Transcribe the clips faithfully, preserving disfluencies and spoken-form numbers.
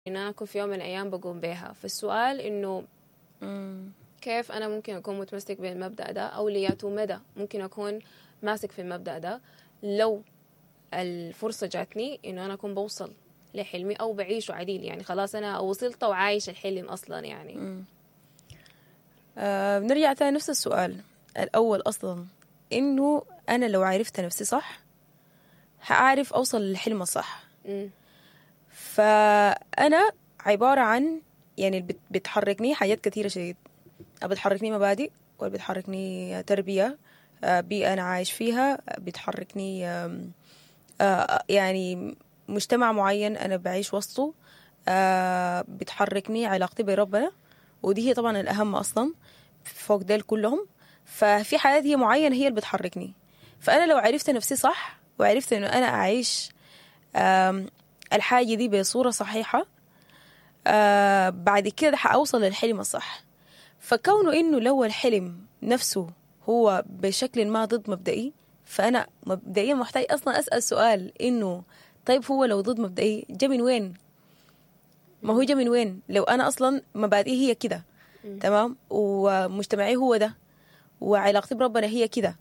إن أنا أكون في يوم من الأيام بقوم بيها. فالسؤال إنو كيف أنا ممكن أكون متمسك بالمبدأ ده، أو لياتو مدى ممكن أكون ماسك في المبدأ ده لو الفرصة جاتني إنو أنا أكون بوصل لحلمي أو بعيشه عديل، يعني خلاص أنا وصلت وعايش الحلم أصلا يعني. مم. آه بنرجع تاني نفس السؤال الأول أصلا، إنه أنا لو عرفت نفسي صح حأعرف أوصل للحلم الصح. مم. فأنا عبارة عن يعني بت- بتحركني حاجات كثيرة شديد، بتحركني مبادئ، وبتحركني تربية، آه، بيئة أنا عايش فيها، بتحركني، آم، آه، يعني مجتمع معين أنا بعيش وسطه، آه، بتحركني علاقتي بربنا، ودي هي طبعا الأهم أصلا فوق ديل كلهم. ففي حاجات هي معينة هي اللي بتحركني. فأنا لو عرفت نفسي صح وعرفت إنه أنا أعيش، آم، الحاجة دي بصورة صحيحة، آه، بعد كده حأوصل للحلم الصح. فكونه إنه لو الحلم نفسه هو بشكل ما ضد مبدئي، فأنا مبدئيا محتاج أصلا أسأل سؤال إنه طيب هو لو ضد مبدئي جا من وين؟ ما هو جا من وين؟ لو أنا أصلا مبادئي هي كده، تمام، ومجتمعي هو ده، وعلاقتي بربنا هي كده،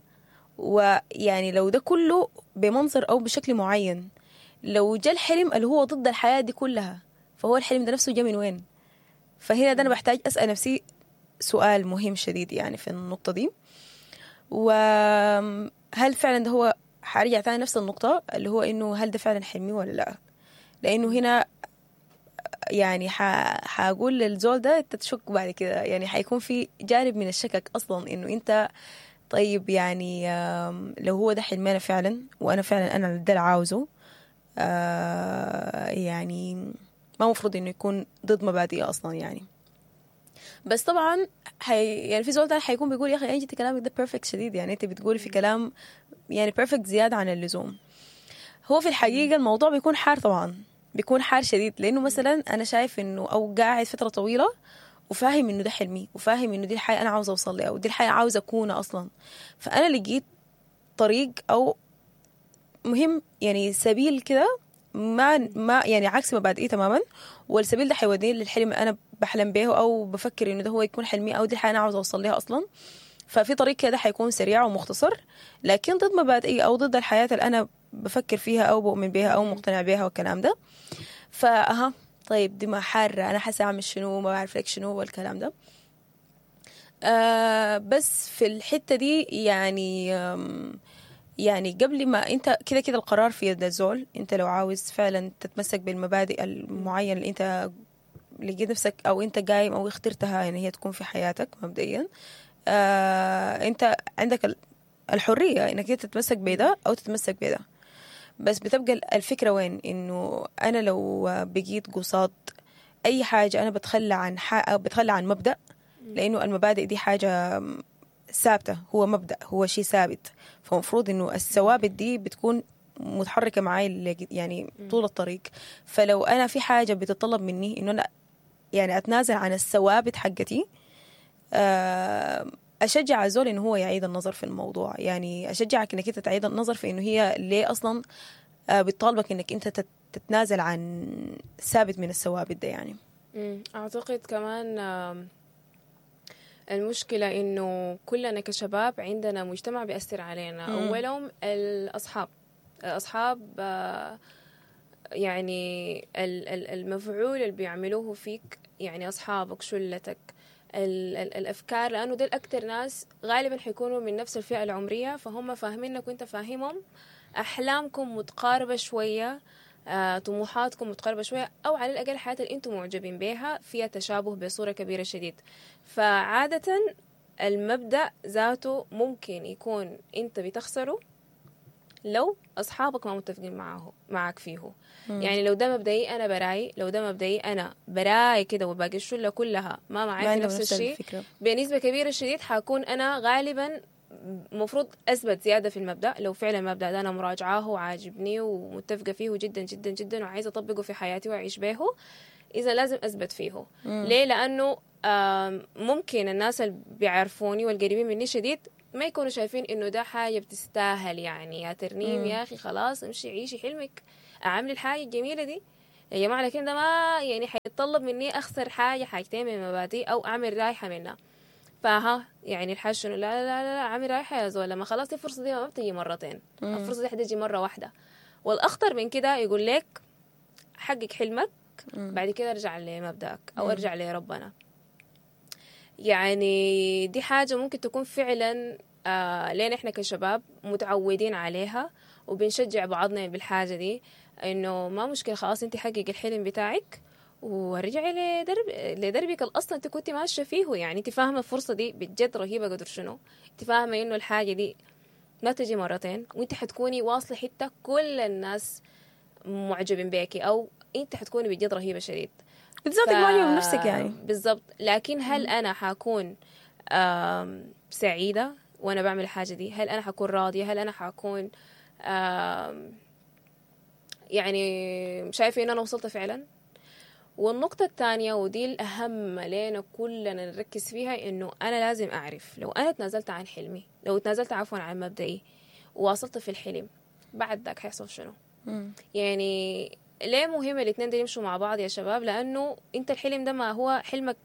ويعني لو ده كله بمنظر أو بشكل معين، لو جا الحلم اللي هو ضد الحياة دي كلها، فهو الحلم ده نفسه جا من وين؟ فهنا ده أنا بحتاج أسأل نفسي سؤال مهم شديد يعني في النقطة دي. وهل فعلا ده هو، حارجع تاني نفس النقطة اللي هو إنه هل ده فعلا حلمي ولا لا؟ لأنه هنا يعني ح- حقول للزول ده انت تشك بعد كده، يعني حيكون في جانب من الشكك أصلا إنه أنت طيب يعني، آم، لو هو ده حلمي أنا فعلا، وأنا فعلا أنا ده اللي عاوزه، آه، يعني ما مفروض إنه يكون ضد مبادئي أصلا يعني. بس طبعا حي يعني في زول تاني حيكون بيقول يا أخي أنت كلامك ده perfect شديد، يعني أنت بتقولي في كلام يعني perfect زيادة عن اللزوم. هو في الحقيقة الموضوع بيكون حار طبعا، بيكون حار شديد، لأنه مثلا أنا شايف إنه أو قاعد فترة طويلة وفاهم إنه ده حلمي، وفاهم إنه دي الحياة أنا عاوزة أوصل لها، ودي الحياة عاوزة أكونها أصلا. فأنا لقيت طريق أو مهم يعني سبيل كده ما ما يعني عكس مبادئي تماما، والسبيل ده حيوديني للحلم اللي أنا بحلم به أو بفكر إنه ده هو يكون حلمي أو دي الحياة أنا عاوزة أوصل لها أصلا. ففي طريق كده حيكون سريع ومختصر، لكن ضد مبادئي أو ضد الحياة اللي أنا بفكر فيها أو بؤمن بها أو مقتنع بها والكلام ده. فأها طيب دي ما حارة، أنا حاسة أعمل شنو، ما بعرف لك شنو والكلام ده. آه بس في الحتة دي يعني، آم، يعني قبل ما أنت كده كده القرار في يد الزول، أنت لو عاوز فعلا تتمسك بالمبادئ المعينة اللي أنت لقيت نفسك أو أنت قايم أو اخترتها إن هي تكون في حياتك مبدئيا، آه أنت عندك ال-، الحرية إنك أنت تتمسك بده أو تتمسك بده. بس بتبقى الفكرة وين؟ إنه أنا لو بقيت قصاد أي حاجة أنا بتخلى عن ح-، بتخلى عن مبدأ، لأنه المبادئ دي حاجة ثابتة، هو مبدأ، هو شيء ثابت، فمفروض إنه الثوابت دي بتكون متحركة معاي ل-، يعني طول الطريق. فلو أنا في حاجة بتطلب مني إنه أنا يعني أتنازل عن الثوابت حقتي، آه، أشجع الزول إنه هو يعيد النظر في الموضوع. يعني أشجعك إنك أنت تعيد النظر في إنه هي ليه أصلاً، آه، بتطالبك إنك أنت تت-، تتنازل عن ثابت من الثوابت ده يعني. مم. أعتقد كمان، آم، المشكلة إنه كلنا كشباب عندنا مجتمع بيأثر علينا. مم. أولهم الأصحاب. الأصحاب، آه، يعني ال-، ال-، المفعول اللي بيعملوه فيك، يعني أصحابك، شلتك، ال-، ال-، الأفكار، لأنه دول أكتر ناس غالباً حيكونوا من نفس الفئة العمرية، فهم فاهمينك وانت فاهمهم، أحلامكم متقاربة شوية، آه، طموحاتكم متقاربة شوية، أو على الأقل حياة اللي أنتم معجبين بيها فيها تشابه بصورة كبيرة شديد. فعادة المبدأ ذاته ممكن يكون أنت بتخسره لو أصحابك ما متفقين معه، معك فيه. مم. يعني لو ده مبدئي أنا براي، لو ده مبدئي أنا براي كده وباقي الشلة كلها ما معاي ما في عندهم نفس نفس الشيء، الفكرة. بنسبة كبيرة شديد حكون أنا غالبا مفروض أثبت زيادة في المبدأ. لو فعلا المبدأ ده أنا مراجعاه وعاجبني ومتفقة فيه جدا جدا جدا وعايزة أطبقه في حياتي وأعيش به، إذا لازم أثبت فيه. مم. ليه؟ لأنه، آم، ممكن الناس اللي بيعرفوني والقريبين مني شديد ما يكونوا شايفين إنه ده حاجة بتستاهل، يعني يا ترنيم مم. يا أخي خلاص امشي عيشي حلمك، أعمل الحاجة الجميلة دي. يا جماعة لكن ده ما يعني حيتطلب مني اخسر حاجة حاجتين من مبادئي او اعمل رايحة منها. فها يعني الحاجة شنو؟ لا لا لا لا اعمل رايحة يا زول، لما خلاص الفرصة دي ما بتجي مرتين، الفرصة دي حتجي مرة واحدة. والاخطر من كده يقول لك حقق حلمك بعد كده ارجع لمبدأك او ارجع لربنا. يعني دي حاجة ممكن تكون فعلا آه لين احنا كشباب متعودين عليها وبنشجع بعضنا بالحاجة دي، انه ما مشكلة خلاص انت حقق الحلم بتاعك ورجعي لدرب لدربك الاصلا انت كنت ماشية فيه. يعني انت فاهمه الفرصة دي بجد رهيبة قدر شنو، انت فاهمه انه الحاجة دي ما تجي مرتين، وانت حتكوني واصله حتة كل الناس معجبين بيكي، او انت حتكوني بجد رهيبة شديد بالذات ف... معجبه بنفسك يعني بالضبط. لكن هل انا حكون سعيدة وانا بعمل الحاجة دي؟ هل انا حكون راضية؟ هل انا حكون يعني شايفه ان انا وصلت فعلا؟ والنقطة الثانية ودي الأهم لنا كلنا نركز فيها، إنه أنا لازم أعرف لو أنا تنازلت عن حلمي، لو تنازلت عفوا عن مبدئي وواصلت في الحلم، بعد ذاك حيحصل شنو؟ مم. يعني ليه مهم الاثنين دول يمشوا مع بعض يا شباب؟ لأنه أنت الحلم ده ما هو حلمك.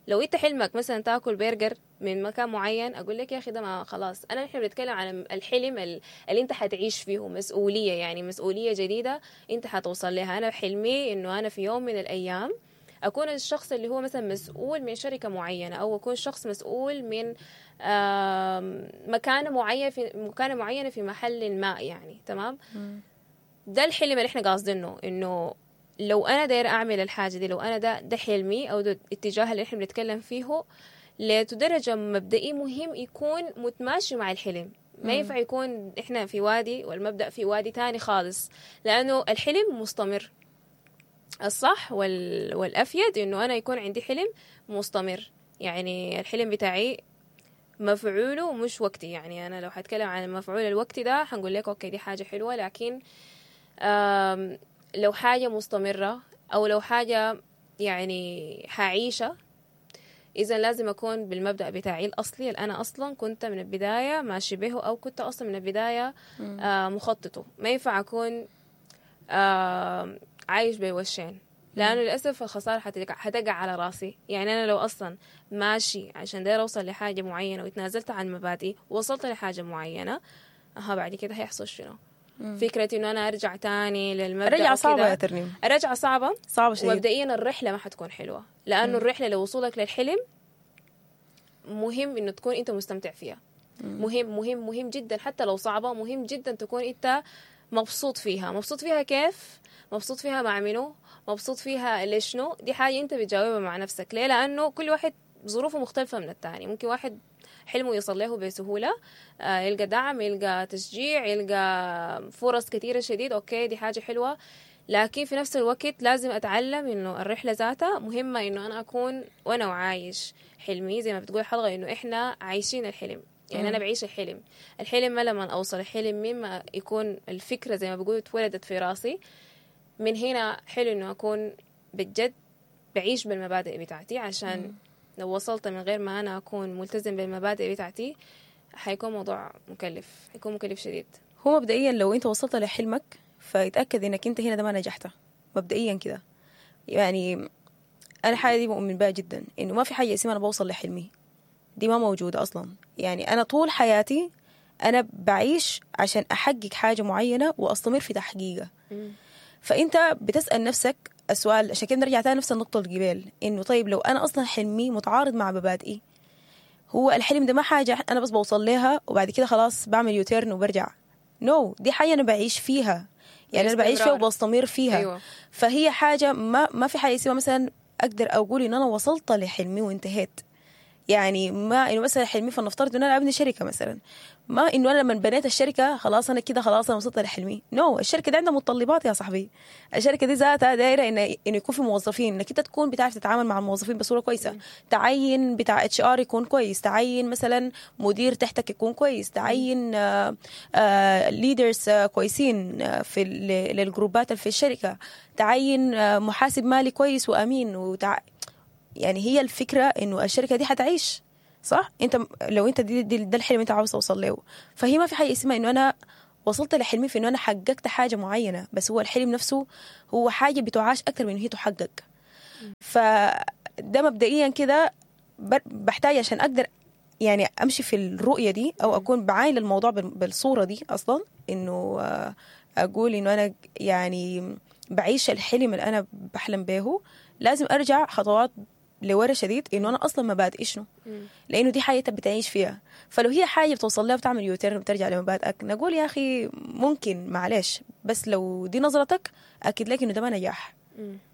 لو أنت حلمك مثلا تاكل برجر من مكان معين، أقول لك يا أخي ده ما خلاص. أنا نحن بنتكلم عن الحلم اللي أنت حتعيش فيه مسؤولية، يعني مسؤولية جديدة أنت حتوصل لها. أنا حلمي إنه أنا في يوم من الأيام أكون الشخص اللي هو مثلا مسؤول من شركة معينة، أو أكون شخص مسؤول من مكانة معينة في مكانة معينة في محل ما، يعني تمام. ده الحلم اللي إحنا قاصدينه، إنه لو أنا داير أعمل الحاجة دي، لو أنا ده ده حلمي أو ده الاتجاه اللي إحنا بنتكلم فيه، لدرجة مبدئي مهم يكون متماشي مع الحلم. ما ينفع يكون إحنا في وادي والمبدأ في وادي تاني خالص، لأنه الحلم مستمر. الصح وال... والأفيد إنه أنا يكون عندي حلم مستمر، يعني الحلم بتاعي مفعوله مش وقتي. يعني أنا لو حتكلم عن المفعول الوقتي ده حنقول لك okay دي حاجة حلوة، لكن آم... لو حاجة مستمرة أو لو حاجة يعني حعيشة، إذا لازم أكون بالمبدأ بتاعي الأصلي اللي أنا أصلا كنت من البداية ماشي به، أو كنت أصلا من البداية آه مخططه. ما ينفع أكون آه عايش بوشين، لأنه للأسف الخسارة حتقع على راسي. يعني أنا لو أصلا ماشي عشان داير أوصل لحاجة معينة وتنازلت عن مبادئي ووصلت لحاجة معينة، أها بعد كده هيحصل شنو؟ فكرة إنه أنا أرجع تاني للمبدأ، الرجعة صعبة يا ترنيم، الرجعة صعبة صعبة شديد. ومبدئيا الرحلة ما حتكون حلوة، لأنه مم. الرحلة لوصولك للحلم مهم إنه تكون أنت مستمتع فيها. مم. مهم مهم مهم جدا، حتى لو صعبة مهم جدا تكون أنت مبسوط فيها. مبسوط فيها كيف؟ مبسوط فيها مع منو؟ مبسوط فيها ليشنو؟ دي حاجة أنت بتجاوبها مع نفسك. ليه؟ لأنه كل واحد ظروفه مختلفة من الثاني. ممكن واحد حلمه يوصل له بسهولة، يلقى دعم، يلقى تشجيع، يلقى فرص كثيرة شديد، okay دي حاجة حلوة. لكن في نفس الوقت لازم أتعلم إنه الرحلة ذاتها مهمة، إنه أنا أكون وأنا وعايش حلمي، زي ما بتقول الحلقة إنه إحنا عايشين الحلم. يعني أنا بعيش الحلم. الحلم ما لما أوصل الحلم مما يكون الفكرة زي ما بقول اتولدت في راسي، من هنا حلو إنه أكون بجد بعيش بالمبادئ بتاعتي، عشان مم. لو وصلت من غير ما أنا أكون ملتزم بالمبادئ بتاعتي حيكون موضوع مكلف، حيكون مكلف شديد. هو مبدئيا لو أنت وصلت لحلمك فيتأكد إنك أنت هنا ده ما نجحت مبدئيا كده. يعني أنا حاجة دي مؤمن بها جدا، إنه ما في حاجة اسمها أنا بوصل لحلمي، دي ما موجودة أصلا. يعني أنا طول حياتي أنا بعيش عشان أحقق حاجة معينة وأستمر في تحقيقها. فأنت بتسأل نفسك السؤال، عشان كده نرجع تاني نفس النقطة القبل، إنه طيب لو أنا أصلا حلمي متعارض مع مبادئي، هو الحلم ده ما حاجة أنا بس بوصل لها وبعد كده خلاص بعمل U-turn وبرجع. نو no، دي حاجة أنا بعيش فيها، يعني أنا بعيش فيها وبستمر فيها. أيوة. فهي حاجة ما ما في حاجة اسمها مثلا أقدر أقول إن أنا وصلت لحلمي وانتهيت. يعني ما إنه مثلا حلمي فلنفترض إن أنا أبني شركة مثلا، ما إنه أنا لما بنيت الشركة خلاص أنا كده خلاص أنا وصلت لحلمي. نو no، الشركة دي عندها متطلبات يا صاحبي. الشركة دي ذاتها دايرة إن إنه يكون في موظفين، إنك أنت تكون بتعرف تتعامل مع الموظفين بصورة كويسة، تعين بتاع إتش آر يكون كويس، تعين مثلا مدير تحتك يكون كويس، تعين leaders كويسين في للجروبات اللي في الشركة، تعين محاسب مالي كويس وأمين وتع... يعني هي الفكرة إنه الشركة دي حتعيش صح؟ أنت لو أنت دي, دي ده الحلم أنت عاوز توصل له، فهي ما في حاجة اسمها إنه أنا وصلت لحلمي في انه انا حققت حاجة معينة، بس هو الحلم نفسه هو حاجة بتعاش اكثر من إنه هي تحقق. فده مبدئيا كده بحتاج عشان اقدر يعني امشي في الرؤية دي او اكون بعاين للموضوع بالصورة دي اصلا، انه اقول انه انا يعني بعيش الحلم اللي انا بحلم به، لازم ارجع خطوات لورا شديد انه انا اصلا مبادئي شنو، لانه دي حاجة بتعيش فيها. فلو هي حاجة بتوصل لها بتعمل U-turn وبترجع لمبادئك، نقول يا اخي ممكن معلش، بس لو دي نظرتك اكيد لك انه ده ما نجاح،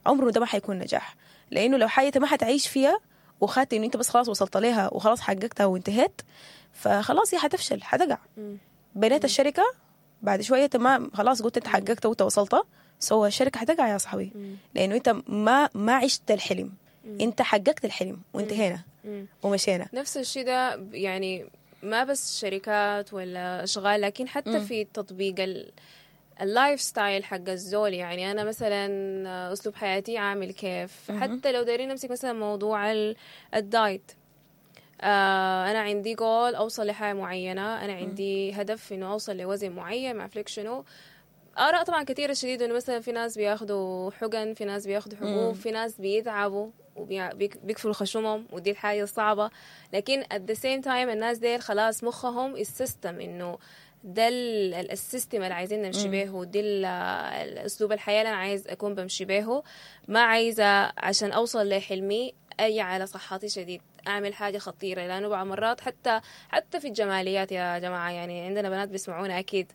عمره ده ما حيكون نجاح. لانه لو حاجة ما حتعيش فيها وخدت انه انت بس خلاص وصلت لها وخلاص حققتها وانتهيت، فخلاص هي حتفشل، حتقع. بنيت الشركة بعد شوية ما خلاص قلت انت حققتها وانت وصلتها، so الشركة حتقع يا صاحبي، لانه انت ما ما عشت الحلم، انت حققت الحلم وانتهينا ومشينا. نفس الشيء ده يعني ما بس شركات ولا اشغال، لكن حتى مم. في تطبيق ال lifestyle حق الزول. يعني انا مثلا اسلوب حياتي عامل كيف، مم. حتى لو دايرين نمسك مثلا موضوع ال diet، آه انا عندي جول اوصل لحاجة معينة، انا عندي هدف انه اوصل لوزن معين، ما اعرف شنو. آراء طبعا كثيرة شديد، إنه مثلا في ناس بياخدوا حقن، في ناس بياخدوا حبوب، في ناس بيتعبوا وبيكفلوا خشمهم، ودي الحاجة الصعبة. لكن at the same time الناس ديل خلاص مخهم ال system إنه ده ال system اللي عايزين نمشي به، ودي الأسلوب الحياة اللي أنا عايز أكون بمشي به. ما عايزة عشان أوصل لحلمي أي على صحتي شديد أعمل حاجة خطيرة، لأنه بعض مرات حتى حتى في الجماليات يا جماعة، يعني عندنا بنات بيسمعونا أكيد،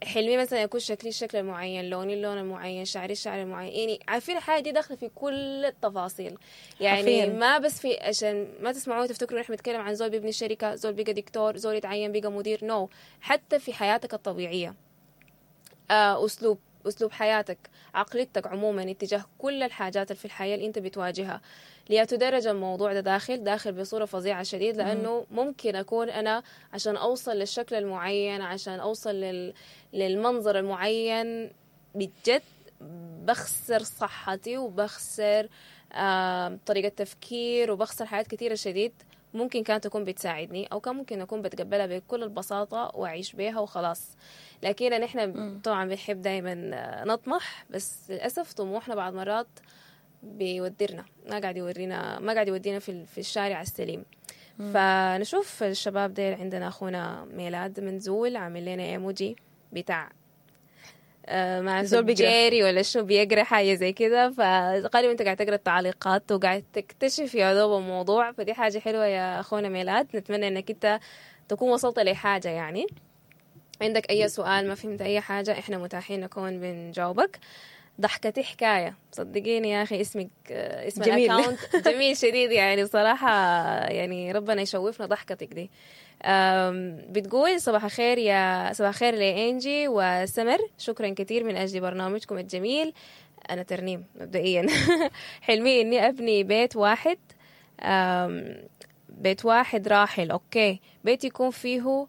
حلمي مثلا يكون شكلي الشكل المعين، لوني اللون المعين، شعري الشعر المعين، يعني عارفين الحاجة دي داخله في كل التفاصيل. يعني عارفين. ما بس في عشان ما تسمعوا تفتكروا نحن بنتكلم عن زول بيبني شركة، زول بقى دكتور، زول يتعين بقى مدير، no no. حتى في حياتك الطبيعية، آه، اسلوب اسلوب حياتك، عقليتك عموما اتجاه كل الحاجات اللي في الحياة اللي انت بتواجهها، ليتدرج الموضوع ده داخل داخل بصورة فظيعة شديد. لانه ممكن اكون انا عشان اوصل للشكل المعين، عشان اوصل لل... للمنظر المعين، بجد بخسر صحتي وبخسر آه، طريقه تفكير، وبخسر حاجات كثيرة شديد ممكن كانت تكون بتساعدني، او كان ممكن اكون بتقبلها بكل البساطة واعيش بيها وخلاص. لكن نحن طبعا بنحب دائما نطمح، بس للاسف طموحنا بعض مرات بيودرنا، ما قاعد يورينا، ما قاعد يودينا في في الشارع السليم. مم. فنشوف الشباب ديل، عندنا اخونا ميلاد منزول عامل لنا ايموجي بتاع آه مع زول جيري ولا شو بيقرا حاجة زي كده، فغالبا انت قاعد تقرا التعليقات وقاعد تكتشف يا دوب الموضوع، فدي حاجة حلوة يا اخونا ميلاد. نتمنى انك انت تكون وصلت لحاجة. يعني عندك اي سؤال، ما فهمت اي حاجة، احنا متاحين نكون بنجاوبك. ضحكتي حكاية، صدقيني يا اخي اسمك اسم جميل. ال account جميل شديد، يعني بصراحة يعني ربنا يشوفنا ضحكتك دي. بتقول صباح الخير يا صباح الخير لإنجي وسمر، شكرا كثير من أجل برنامجكم الجميل. أنا ترنيم مبدئيا حلمي إني أبني بيت واحد، بيت واحد راحل، okay، بيت يكون فيه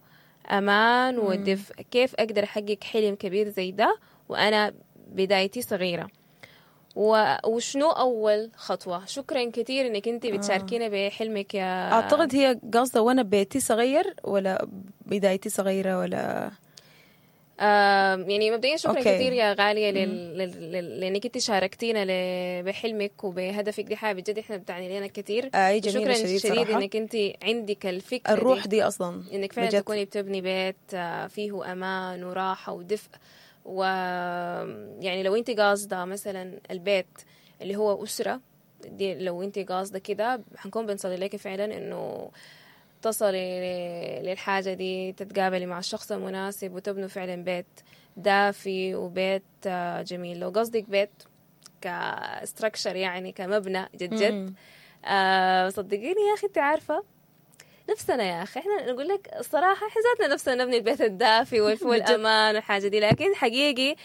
أمان ودفء. كيف أقدر أحقق حلم كبير زي ده وأنا بدايتي صغيرة؟ وشنو أول خطوة؟ شكرا كثير إنك أنت بتشاركينا بحلمك يا أعتقد هي قصدها وأنا بيتي صغير ولا بدايتي صغيرة ولا آه يعني مبدئيا شكرا okay. كثير يا غالية لل... لل... لل... لأنك أنت شاركتينا ل... بحلمك وبهدفك، دي حاجة بجد إحنا بتعني لنا كثير. آه جميلة شكرا شديد, شديد إنك أنت عندك الفكرة الروح دي, دي أصلا إنك فعلا بجد. تكوني بتبني بيت فيه أمان وراحة ودفء، و يعني لو انت قاصده مثلا البيت اللي هو اسره دي، لو انت قاصده كده حنكون بنصلي لك فعلا انه تصلي للحاجة دي، تتقابلي مع الشخص المناسب وتبنوا فعلا بيت دافي وبيت جميل. لو قصدك بيت ك structure يعني كمبنى جد جد، آه صدقيني يا اخي انت عارفه نفسنا يا أخي، إحنا نقول لك الصراحة إحنا ذاتنا نفسنا نبني البيت الدافي والأمان والحاجة دي، لكن حقيقي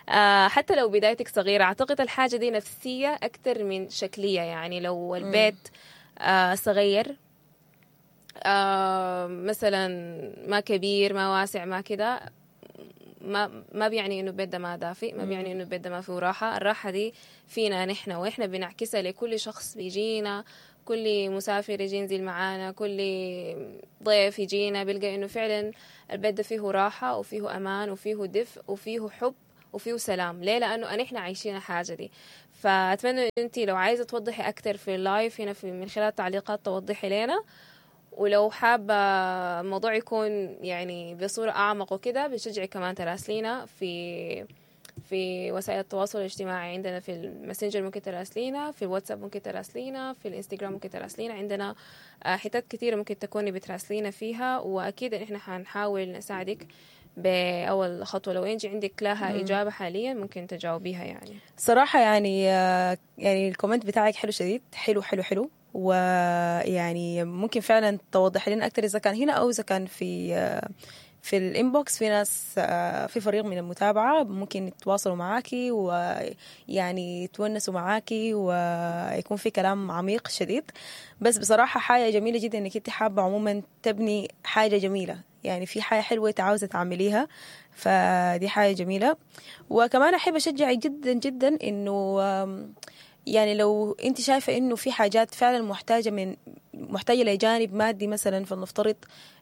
آه حتى لو بدايتك صغيرة أعتقد الحاجة دي نفسية أكثر من شكلية. يعني لو البيت آه صغير آه مثلا ما كبير ما واسع ما كده، ما ما بيعني انه البيت ده ما دافئ، ما بيعني انه البيت ده ما فيه راحة. الراحة دي فينا نحن، واحنا بنعكسها لكل شخص بيجينا، كل مسافر يجي ينزل معانا، كل ضيف يجينا بيلقى انه فعلا البيت ده فيه راحة وفيه امان وفيه دفء وفيه حب وفيه سلام. ليه؟ لانه نحن عايشين الحاجة دي. فاتمنى انت لو عايزه توضحي اكتر في ال live هنا في من خلال التعليقات توضحي لنا، ولو حابة الموضوع يكون يعني بصورة اعمق وكده بنشجعك كمان تراسلينا في في وسائل التواصل الاجتماعي. عندنا في الماسنجر ممكن تراسلينا، في الواتساب ممكن تراسلينا، في الانستغرام ممكن تراسلينا. عندنا آه، حتات كتيرة ممكن تكوني بتراسلينا فيها، وأكيد إن إحنا حنحاول نساعدك بأول خطوة. لو إنجي عندك لها إجابة حاليا ممكن تجاوبيها يعني. صراحة يعني آه، يعني ال comment بتاعك حلو شديد، حلو حلو حلو، ويعني ممكن فعلا توضح لنا أكتر إذا كان هنا أو إذا كان في آه، في ال inbox. في ناس آه، في فريق من المتابعة ممكن يتواصلوا معاكي ويعني يتونسوا معاكي ويكون في كلام عميق شديد. بس بصراحة حاجة جميلة جدا إنك أنت حابة عموما تبني حاجة جميلة، يعني في حاجة حلوة أنت عاوزة تعمليها، فدي حاجة جميلة. وكمان أحب أشجعك جدا جدا إنه آم، يعني لو انت شايفة انه في حاجات فعلا محتاجة من محتاجة لجانب مادي مثلا، فلنفترض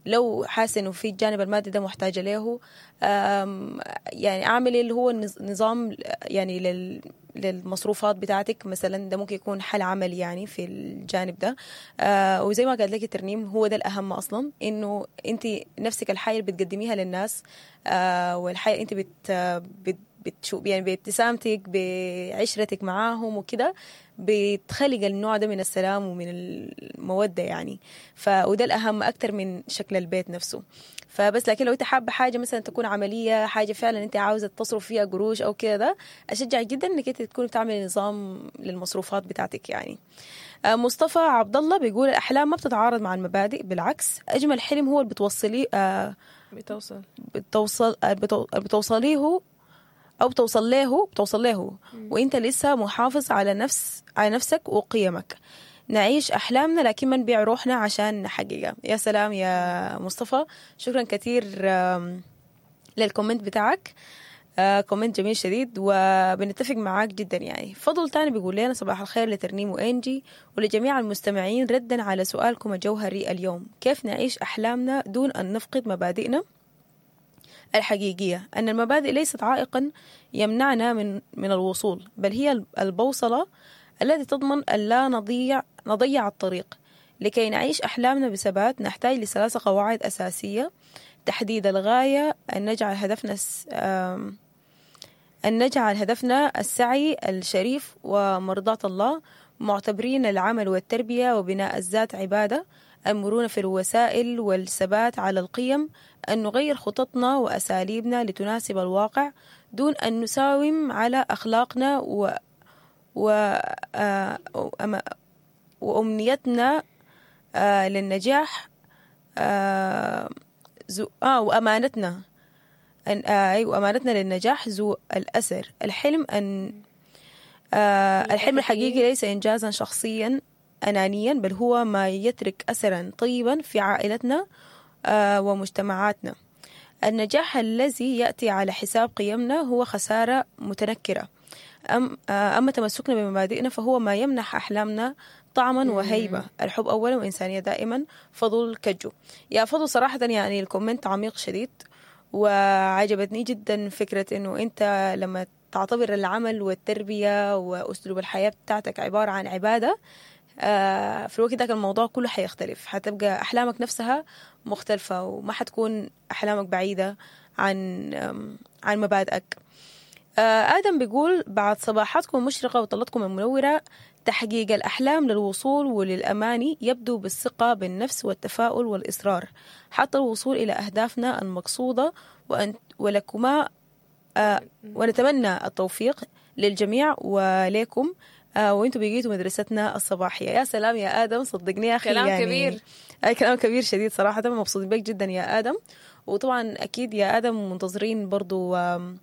لو حاسة انه في الجانب المادي ده محتاجة له، آم، يعني اعملي اللي هو النظ- نظام يعني لل للمصروفات بتاعتك مثلا، ده ممكن يكون حل عملي يعني في الجانب ده. آه وزي ما قالت لك الترنيم، هو ده الأهم أصلا، إنه أنت نفسك الحاجة اللي بتقدميها للناس، آه والحاجة اللي أنت بت بت بتشوف يعني بابتسامتك بعشرتك معاهم وكده، بتخلق النوع ده من السلام ومن المودة يعني. ف وده الأهم أكتر من شكل البيت نفسه. فبس لكن لو انت حابة حاجة مثلا تكون عملية، حاجة فعلا انت عاوزة تصرف فيها قروش أو كده، ده أشجع جدا انك انت تكون بتعمل نظام للمصروفات بتاعتك يعني. آه، مصطفى عبد الله بيقول الأحلام ما بتتعارض مع المبادئ، بالعكس أجمل حلم هو اللي بتوصليه آه بتوصل بتوصل آه، بتو- بتوصليه او بتوصل له بتوصل له وانت لسه محافظ على نفس على نفسك وقيمك. نعيش احلامنا لكن ما نبيع روحنا عشان نحققها. يا سلام يا مصطفى، شكرا كثير آم، لل comment بتاعك، آه، comment جميل شديد وبنتفق معاك جدا يعني. فضل تاني بيقول لنا صباح الخير لترنيم وإنجي ولجميع المستمعين، ردا على سؤالكم الجوهري اليوم، كيف نعيش أحلامنا دون أن نفقد مبادئنا الحقيقية؟ أن المبادئ ليست عائقا يمنعنا من من الوصول، بل هي البوصلة التي تضمن أن لا نضيع نضيع الطريق. لكي نعيش أحلامنا بثبات نحتاج لثلاث قواعد أساسية: تحديد الغاية، أن نجعل هدفنا س- آم، أن نجعل هدفنا السعي الشريف ومرضاة الله، معتبرين العمل والتربية وبناء الذات عبادة، المرونة في الوسائل والثبات على القيم، أن نغير خططنا وأساليبنا لتناسب الواقع دون أن نساوم على أخلاقنا و... و... آه، وأما- وأمنيتنا آه، للنجاح آه، زو... آه وأمانتنا أن آه أيوة أمانتنا للنجاح ذو الأثر. الحلم أن آه الحلم الحقيقي ليس إنجازا شخصيا أنانيا، بل هو ما يترك أثرا طيبا في عائلتنا آه ومجتمعاتنا. النجاح الذي يأتي على حساب قيمنا هو خسارة متنكرة، أم آه، أما تمسكنا بمبادئنا فهو ما يمنح أحلامنا طعما وهيبة. الحب أولا وإنسانية دائما. فضل كجو. يا فضل صراحة يعني ال comment عميق شديد، وعجبتني جدا فكرة إنه أنت لما تعتبر العمل والتربية وأسلوب الحياة بتاعتك عبارة عن عبادة، آه، في الوقت ذاك الموضوع كله حيختلف، حتبقى أحلامك نفسها مختلفة وما حتكون أحلامك بعيدة عن آم، عن مبادئك. آه، آدم بيقول بعد صباحاتكم المشرقة وطلتكم المنورة، تحقيق الأحلام للوصول وللأماني يبدو بالثقة بالنفس والتفاؤل والإصرار حتى الوصول إلى أهدافنا المقصودة، وأن ولكما آه، ونتمنى التوفيق للجميع وليكم. آه، وانتم بقيتوا مدرستنا الصباحية. يا سلام يا آدم، صدقني يا أخي كلام يعني كبير. أي كلام كبير شديد صراحة، مبسوط بك جدا يا آدم. وطبعا أكيد يا آدم منتظرين برضو آم،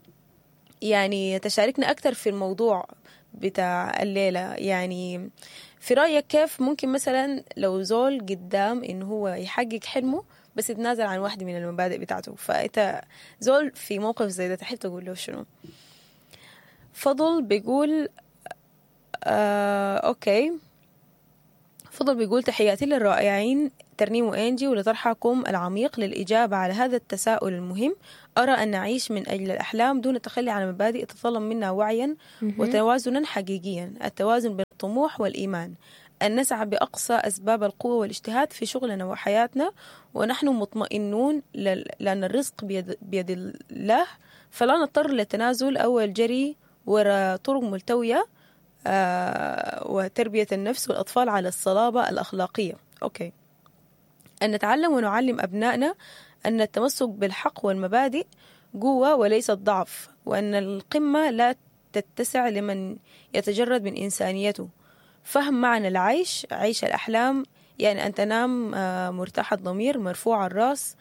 يعني تشاركنا أكثر في الموضوع بتاع الليلة. يعني في رأيك كيف ممكن مثلا لو زول قدام إنه هو يحقق حلمه بس يتنازل عن واحدة من المبادئ بتاعته. فانت زول في موقف زي ده تحب تقول له شنو؟ فضل بيقول آه okay، فضل بيقول تحياتي للرائعين ترنيم وإنجي ولطرحكم العميق للإجابة على هذا التساؤل المهم. أرى أن نعيش من أجل الأحلام دون التخلي عن المبادئ يتطلب منا وعيا وتوازنا حقيقيا، التوازن بين الطموح والإيمان، أن نسعى بأقصى أسباب القوة والاجتهاد في شغلنا وحياتنا ونحن مطمئنون لأن الرزق بيد, بيد الله، فلا نضطر للتنازل أو الجري وراء طرق ملتوية، آه وتربية النفس والأطفال على الصلابة الأخلاقية. okay. أن نتعلم ونعلم أبنائنا أن التمسك بالحق والمبادئ قوة وليس ضعف، وأن القمة لا تتسع لمن يتجرد من إنسانيته. فهم معنى العيش، عيش الأحلام، يعني أن تنام مرتاح الضمير مرفوع الرأس،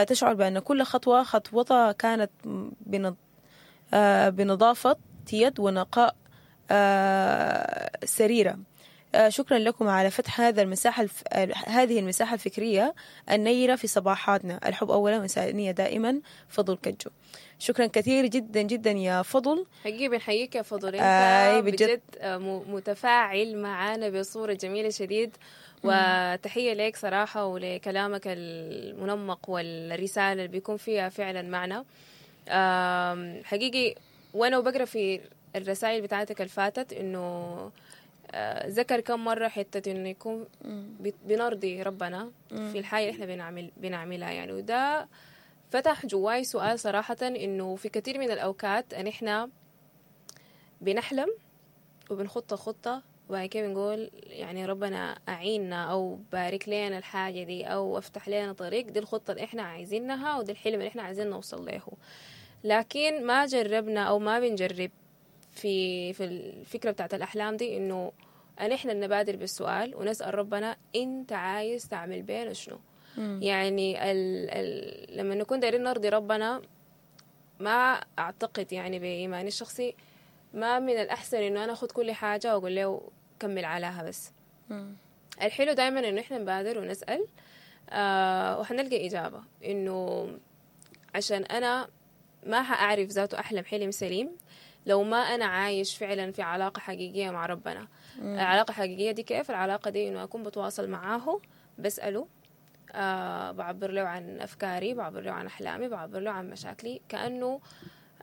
تشعر بأن كل خطوة خطوتها كانت بنظافة يد ونقاء سريرة. شكرا لكم على فتح هذا المساحة الف... هذه المساحة الفكرية النيرة في صباحاتنا. الحب أولا وإنسانية دائما. فضل كجو. شكرا كثير جدا جدا يا فضل، حقيقي بنحييك يا فضل، انت آه بجد متفاعل معانا بصورة جميلة شديد، وتحية لك صراحة ولكلامك المنمق والرسالة اللي بيكون فيها فعلا معنى حقيقي. وانا وبقرأ في الرسائل بتاعتك الفاتت انه ذكر كم مرة حتة إنه يكون بنرضي ربنا في الحاجة اللي إحنا بنعمل بنعملها يعني. وده فتح جواي سؤال صراحة، إنه في كثير من الأوقات إن إحنا بنحلم وبنخطط خطة وبعد كده بنقول يعني ربنا أعيننا أو بارك لنا الحاجة دي أو افتح لنا طريق، دي الخطة اللي إحنا عايزينها ودي الحلم اللي إحنا عايزين نوصل له، لكن ما جربنا أو ما بنجرب في في الفكرة بتاعت الأحلام دي إنه أن إحنا نبادر بالسؤال ونسأل ربنا أنت عايز تعمل بينا شنو. يعني ال ال لما نكون دايرين نرضي ربنا، ما أعتقد يعني بإيماني الشخصي ما من الأحسن إنه أنا أخذ كل حاجة وأقول له كمل عليها بس. مم. الحلو دايما إنه إحنا نبادر ونسأل، آه وحنلقى إجابة. إنه عشان أنا ما هأعرف ذاته أحلم حلم سليم لو ما أنا عايش فعلا في علاقة حقيقية مع ربنا. مم. العلاقة الحقيقية دي كيف؟ العلاقة دي إنه أكون بتواصل معاه، بسأله، آه بعبر له عن أفكاري، بعبر له عن أحلامي، بعبر له عن مشاكلي، كأنه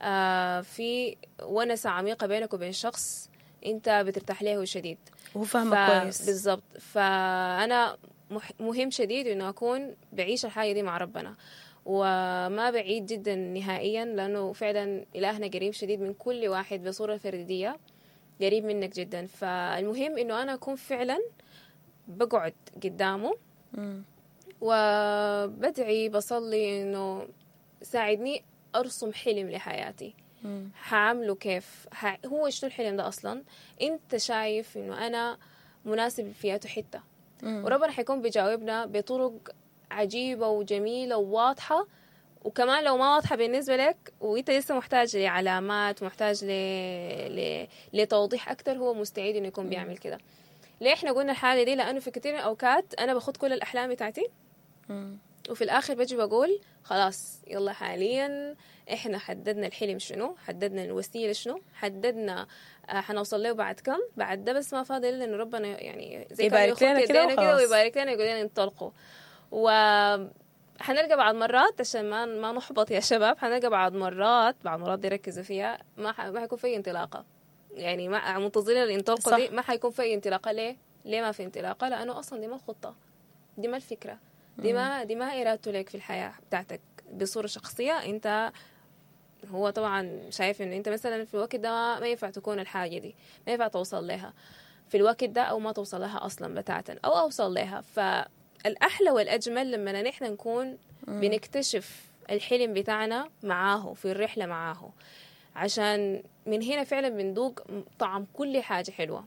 آه في ونسة عميقة بينك وبين شخص أنت بترتاح له شديد وهو فاهمك كويس. بالضبط. فأنا مهم شديد إنه أكون بعيش الحاجة دي مع ربنا، وما بعيد جدا نهائيا، لأنه فعلا إلهنا قريب شديد من كل واحد بصورة فردية، قريب منك جدا. فالمهم إنه أنا أكون فعلا بقعد قدامه وبدعي بصلي إنه ساعدني أرسم حلم لحياتي. هعمله كيف؟ هو شنو الحلم ده أصلا؟ أنت شايف إنه أنا مناسب فيها حتة؟ وربنا حيكون بيجاوبنا بطرق عجيبة وجميلة وواضحة، وكمان لو ما واضحة بالنسبة لك وانت لسه محتاج لعلامات، محتاج ل... ل... لتوضيح أكتر، هو مستعد إنه يكون بيعمل كده. ليه احنا قلنا الحالة دي؟ لأنه في كثير من الأوقات أنا باخد كل الأحلام بتاعتي وفي الآخر بجي بقول خلاص يلا حاليا احنا حددنا الحلم شنو، حددنا الوسيلة شنو، حددنا حنوصل له بعد كم، بعد ده بس ما فاضل إلا إنه ربنا يعني زي يبارك لنا كده ويبارك لنا يقول لنا انطلقوا. وحنلقى بعض مرات عشان ما ما نحبط يا شباب، حنلقى بعض مرات بعض مرات دي ركزوا فيها ما ح... ما حيكون في انطلاقة، يعني ما منتظرين الانطلاقة دي ما حيكون في انطلاقة. ليه؟ ليه ما في انطلاقة؟ لأنه أصلا دي ما الخطة، دي ما الفكرة، دي ما دي ما إرادته لك في الحياة بتاعتك بصورة شخصية. أنت هو طبعا شايف إنه أنت مثلا في الوقت ده ما ينفع تكون الحاجة دي، ما ينفع توصل لها في الوقت ده، أو ما توصل لها أصلا بتاعتا، أو أوصل لها. ف الأحلى والأجمل لما نحن نكون بنكتشف الحلم بتاعنا معاه في الرحلة معاه، عشان من هنا فعلا بندوق طعم كل حاجة حلوة.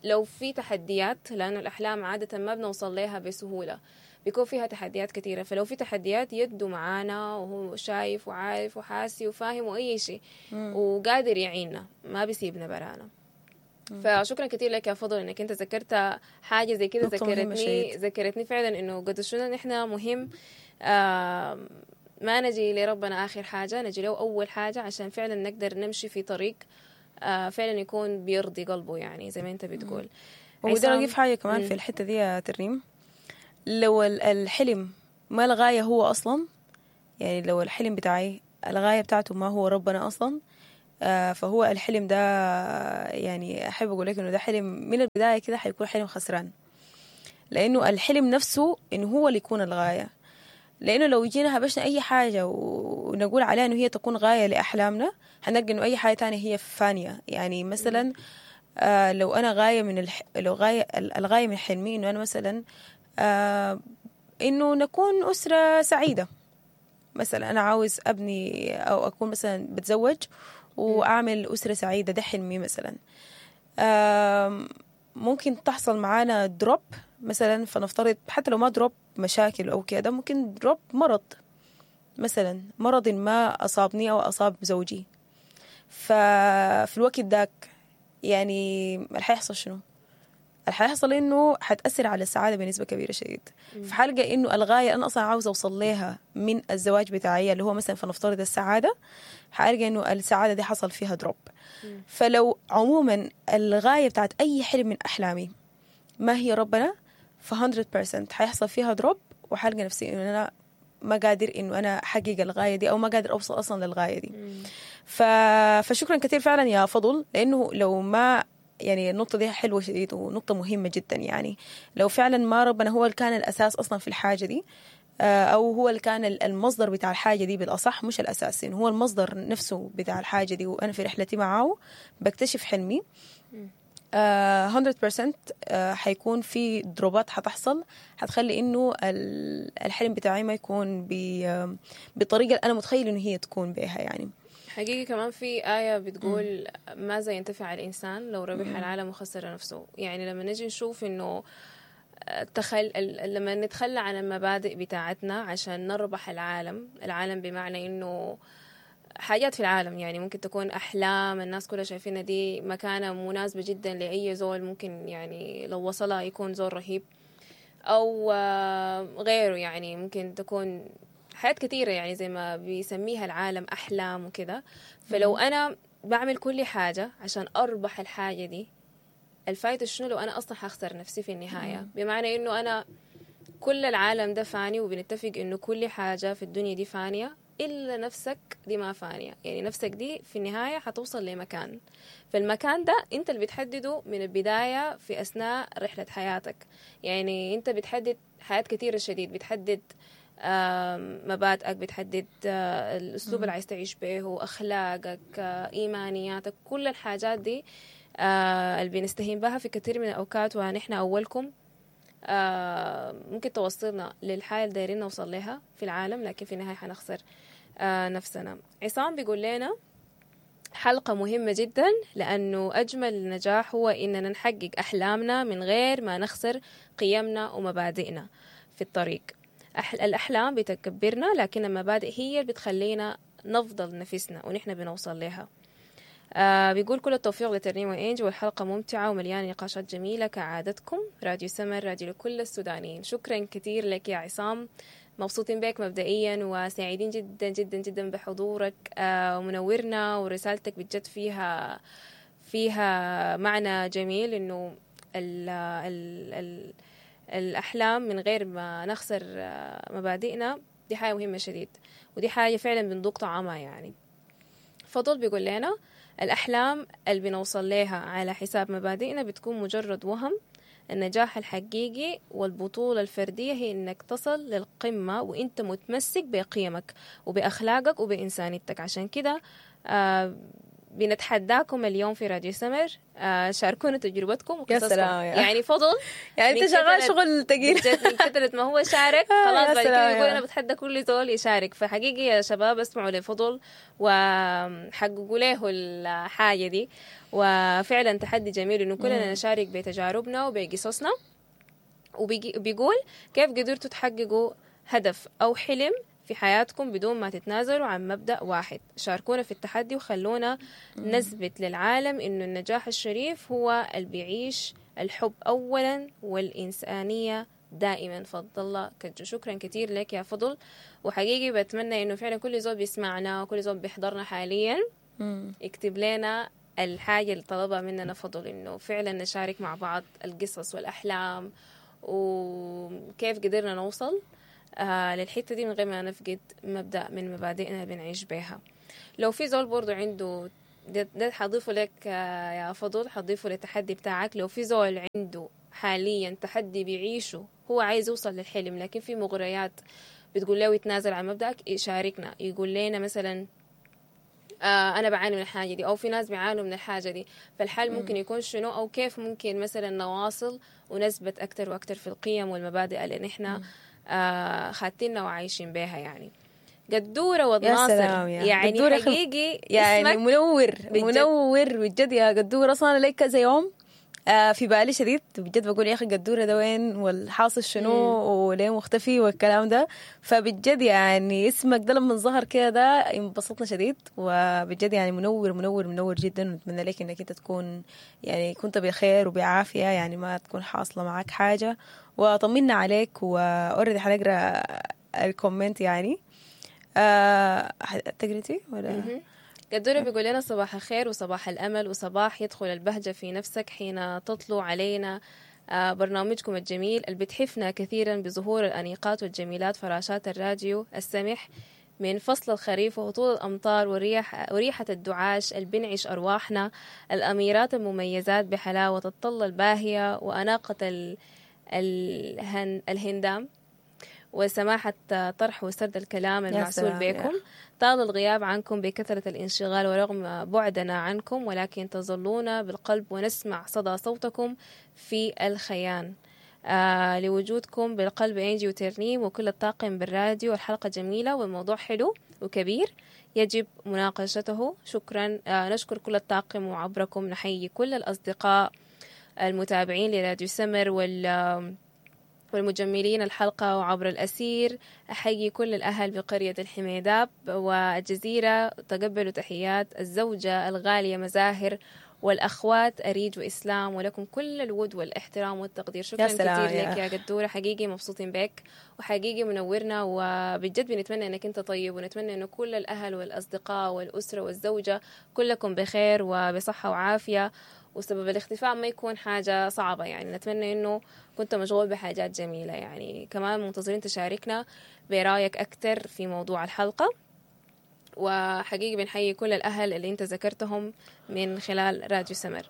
لو في تحديات، لأنه الأحلام عادة ما بنوصل لها بسهولة، بيكون فيها تحديات كثيرة، فلو في تحديات يدو معانا وهو شايف وعارف وحاسي وفاهم وأي شيء وقادر يعيننا، ما بيسيبنا برانا. فشكرا كثير لك يا فضل انك انت ذكرت حاجة زي كده، نقطة مهمة ذكرتني شديد. ذكرتني فعلا انه قد شنو نحن مهم آه ما نجي لربنا اخر حاجة، نجي له اول حاجة، عشان فعلا نقدر نمشي في طريق آه فعلا يكون بيرضي قلبه، يعني زي ما انت بتقول. وده عصام. اضيف حاجة كمان مم. في الحتة دي يا ترنيم، لو ال- الحلم ما الغاية هو اصلا، يعني لو الحلم بتاعي الغاية بتاعته ما هو ربنا اصلا، آه، فهو الحلم ده يعني احب اقول لك انه ده حلم من البداية كده حيكون حلم خسران، لانه الحلم نفسه انه هو اللي يكون الغاية. لانه لو جينا هبشنا اي حاجة ونقول عليها انه هي تكون غاية لاحلامنا، حنلقى انه اي حاجة تانية هي فانيه. يعني مثلا آه لو انا غاية من الح... لو غاية الغاية من حلمي انه انا مثلا آه انه نكون اسره سعيدة مثلا، انا عاوز ابني او اكون مثلا بتزوج واعمل اسره سعيدة، ده حلمي مثلا. آم، ممكن تحصل معانا drop مثلا، فنفترض حتى لو ما drop مشاكل او كده، ممكن drop مرض مثلا، مرض ما اصابني او اصاب زوجي، ففي الوقت داك يعني اللي حيحصل شنو؟ اللي حيحصل انه حتاثر على السعادة بنسبة كبيرة شديد. فحلقه انه الغاية انا اصلا عاوزه اوصل لها من الزواج بتاعي اللي هو مثلا فنفترض السعادة، حالقى انه السعادة دي حصل فيها drop. فلو عموما الغاية بتاعت اي حلم من احلامي ما هي ربنا، ف مية بالمية حيحصل فيها drop، وحلقى نفسي انه انا ما قادر انه انا احقق الغاية دي، او ما قادر اوصل اصلا للغاية دي. ف... فشكرا كثير فعلا يا فضل، لانه لو ما يعني النقطة دي حلوة شديد ونقطة مهمة جدا. يعني لو فعلا ما ربنا هو اللي كان الأساس أصلا في الحاجة دي، آه، أو هو اللي كان المصدر بتاع الحاجة دي بالأصح، مش الأساس، إنه هو المصدر نفسه بتاع الحاجة دي، وأنا في رحلتي معاه بكتشف حلمي، آه، مية بالمية آه، حيكون في دروبات حتحصل حتخلي إنه ال- الحلم بتاعي ما يكون ب- بالطريقة اللي أنا متخيل إنه هي تكون بها. يعني حقيقي كمان في آية بتقول ماذا ينتفع الإنسان لو ربح العالم وخسر نفسه. يعني لما نجي نشوف إنه تخل... لما نتخلى عن المبادئ بتاعتنا عشان نربح العالم، العالم بمعنى إنه حاجات في العالم، يعني ممكن تكون أحلام الناس كلها شايفينها دي مكانة مناسبة جدا لأي زول، ممكن يعني لو وصلها يكون زول رهيب أو آه، غيره، يعني ممكن تكون حاجات كثيرة يعني زي ما بيسميها العالم أحلام وكذا. فلو أنا بعمل كل حاجة عشان أربح الحاجة دي، الفايدة شنو لو أنا أصلا حخسر نفسي في النهاية؟ بمعنى إنه أنا كل العالم ده فاني، وبنتفق إنه كل حاجة في الدنيا دي فانية إلا نفسك دي ما فانية. يعني نفسك دي في النهاية حتوصل لمكان، فالمكان ده أنت اللي بتحدده من البداية في أثناء رحلة حياتك. يعني أنت بتحدد حياة كثيرة شديد، بتحدد آم، مبادئك، بتحدد آه، الأسلوب اللي عايز تعيش به، أخلاقك، آه، إيمانياتك، كل الحاجات دي آه، اللي بنستهين بها في كثير من الأوقات، ونحن أولكم آه، ممكن توصلنا للحالة اللي دايرين نوصل لها في العالم، لكن في النهاية حنخسر آه، نفسنا. عصام بيقول لنا حلقة مهمة جدا، لأنه أجمل نجاح هو إننا نحقق أحلامنا من غير ما نخسر قيمنا ومبادئنا في الطريق. أح- الأحلام بتكبرنا، لكن المبادئ هي اللي بتخلينا نفضل نفسنا ونحن بنوصل لها. آه بيقول كل التوفيق لترنيم وإنج، والحلقة ممتعة ومليانة نقاشات جميلة كعادتكم. راديو سمر، راديو لكل السودانيين. شكرا كثير لك يا عصام، مبسوطين بك مبدئيا وسعيدين جدا جدا جدا بحضورك آه ومنورنا، ورسالتك بجد فيها فيها معنى جميل، إنه ال ال ال الأحلام من غير ما نخسر آه، مبادئنا دي حاجة مهمة شديد، ودي حاجة فعلا بندوق طعمها. يعني فضل بيقول لنا الأحلام اللي بنوصل لها على حساب مبادئنا بتكون مجرد وهم. النجاح الحقيقي والبطولة الفردية هي إنك تصل للقمة وإنت متمسك بقيمك وبأخلاقك وبإنسانيتك. عشان كده آه بنتحداكم اليوم في راديو سمر، آه شاركونا تجربتكم وقصصكم. سلام يا. يعني فضل يعني من انت شغال كترة- شغل ثقيل بجد من كثرة ما هو شارك آه، خلاص يا بعد كده سلام يقول يا. انا بتحدى كل زول يشارك. فحقيقي يا شباب اسمعوا لفضل وحققوا له الحاجة دي، وفعلا تحدي جميل انه كلنا نشارك بتجاربنا وبقصصنا. وبيقول كيف قدرتوا تحققوا هدف او حلم في حياتكم بدون ما تتنازلوا عن مبدأ واحد؟ شاركونا في التحدي وخلونا نثبت للعالم إنه النجاح الشريف هو اللي بيعيش الحب أولا والإنسانية دائما. فضل الله كجو، شكرا كثير لك يا فضل. وحقيقي بتمنى إنه فعلا كل زول بيسمعنا وكل زول بيحضرنا حاليا يكتب لنا الحاجة اللي طلبها مننا فضل، إنه فعلا نشارك مع بعض القصص والأحلام وكيف قدرنا نوصل آه للحتة دي من غير ما نفقد مبدأ من مبادئنا اللي بنعيش بيها. لو في زول برضو عنده ده, ده حضيفه لك آه يا فضل، حضيفه للتحدي بتاعك. لو في زول عنده حاليا تحدي بيعيشه، هو عايز يوصل للحلم لكن في مغريات بتقول له يتنازل عن مبدأك، يشاركنا يقول لنا مثلا آه أنا بعاني من الحاجة دي، أو في ناس بيعانوا من الحاجة دي، فالحل ممكن يكون شنو، أو كيف ممكن مثلا نواصل ونثبت أكتر وأكتر في القيم والمبادئ اللي نحن آه خاتيننا وعايشين بيها. يعني قدورة والناصر يا يعني قدورة حقيقي يعني منور بجد. منور بجد يا قدورة. أصلا أنا لي كذا يوم آه في بالي شديد بجد، بقول يا أخي قدورة ده وين، والحاصل شنو، وليه مختفي والكلام ده. فبجد يعني اسمك ده لما ظهر كده ده انبسطنا شديد، وبجد يعني منور منور منور جدا. ونتمنى لك انك انت تكون يعني كنت بخير وبعافية، يعني ما تكون حاصلة معاك حاجة، وطمنا عليك. و already حنقرا ال comment يعني. آه تقريتي ولا؟ قدورة بيقول لنا صباح الخير وصباح الأمل وصباح يدخل البهجة في نفسك حين تطلو علينا برنامجكم الجميل اللي بتحفنا كثيرا بظهور الأنيقات والجميلات فراشات الراديو السمح من فصل الخريف وهطول الأمطار وريح وريحة الدعاش اللي بنعش أرواحنا، الأميرات المميزات بحلاوة الطلة الباهية وأناقة ال... الهن... الهندام وسماحة طرح وسرد الكلام المعسول بكم. طال الغياب عنكم بكثرة الانشغال ورغم بعدنا عنكم، ولكن تظلون بالقلب ونسمع صدى صوتكم في الخيان. آه لوجودكم بالقلب إنجي وترنيم وكل الطاقم بالراديو. الحلقة جميلة والموضوع حلو وكبير يجب مناقشته. شكرا. آه نشكر كل الطاقم وعبركم نحيي كل الأصدقاء المتابعين لراديو سمر وال والمجملين الحلقة وعبر الأسير. أحيي كل الأهل بقرية الحميداب والجزيرة. تقبلوا تحيات الزوجة الغالية مزاهر والأخوات أريج وإسلام، ولكم كل الود والاحترام والتقدير. شكرا كثير لك يا قدورة، حقيقي مبسوطين بك وحقيقي منورنا، وبجد بنتمنى أنك أنت طيب، ونتمنى أنه كل الأهل والأصدقاء والأسرة والزوجة كلكم بخير وبصحة وعافية، وسبب الاختفاء ما يكون حاجة صعبة. يعني نتمنى أنه كنت مشغول بحاجات جميلة. يعني كمان منتظرين تشاركنا برأيك أكتر في موضوع الحلقة، وحقيقي بنحيي كل الأهل اللي انت ذكرتهم من خلال راديو سمر.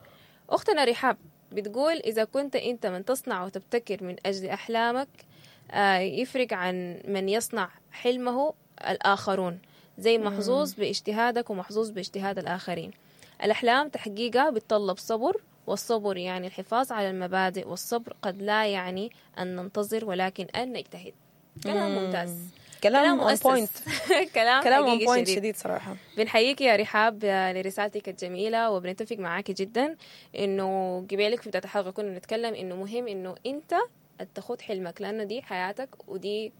أختنا رحاب بتقول إذا كنت أنت من تصنع وتبتكر من أجل أحلامك يفرق عن من يصنع حلمه الآخرون، زي محظوظ باجتهادك ومحظوظ باجتهاد الآخرين. الأحلام تحقيقها بتطلب صبر، والصبر يعني الحفاظ على المبادئ، والصبر قد لا يعني أن ننتظر ولكن أن نجتهد. كلام ممتاز، كلام on point، كلام كلام on point شديد. شديد صراحة. بنحييك يا رحاب لرسالتك الجميلة، وبنتفق معاك جدا إنه قبالك في بداية الحلقة كنا نتكلم إنه مهم إنه أنت تاخد حلمك، لأنه دي حياتك ودي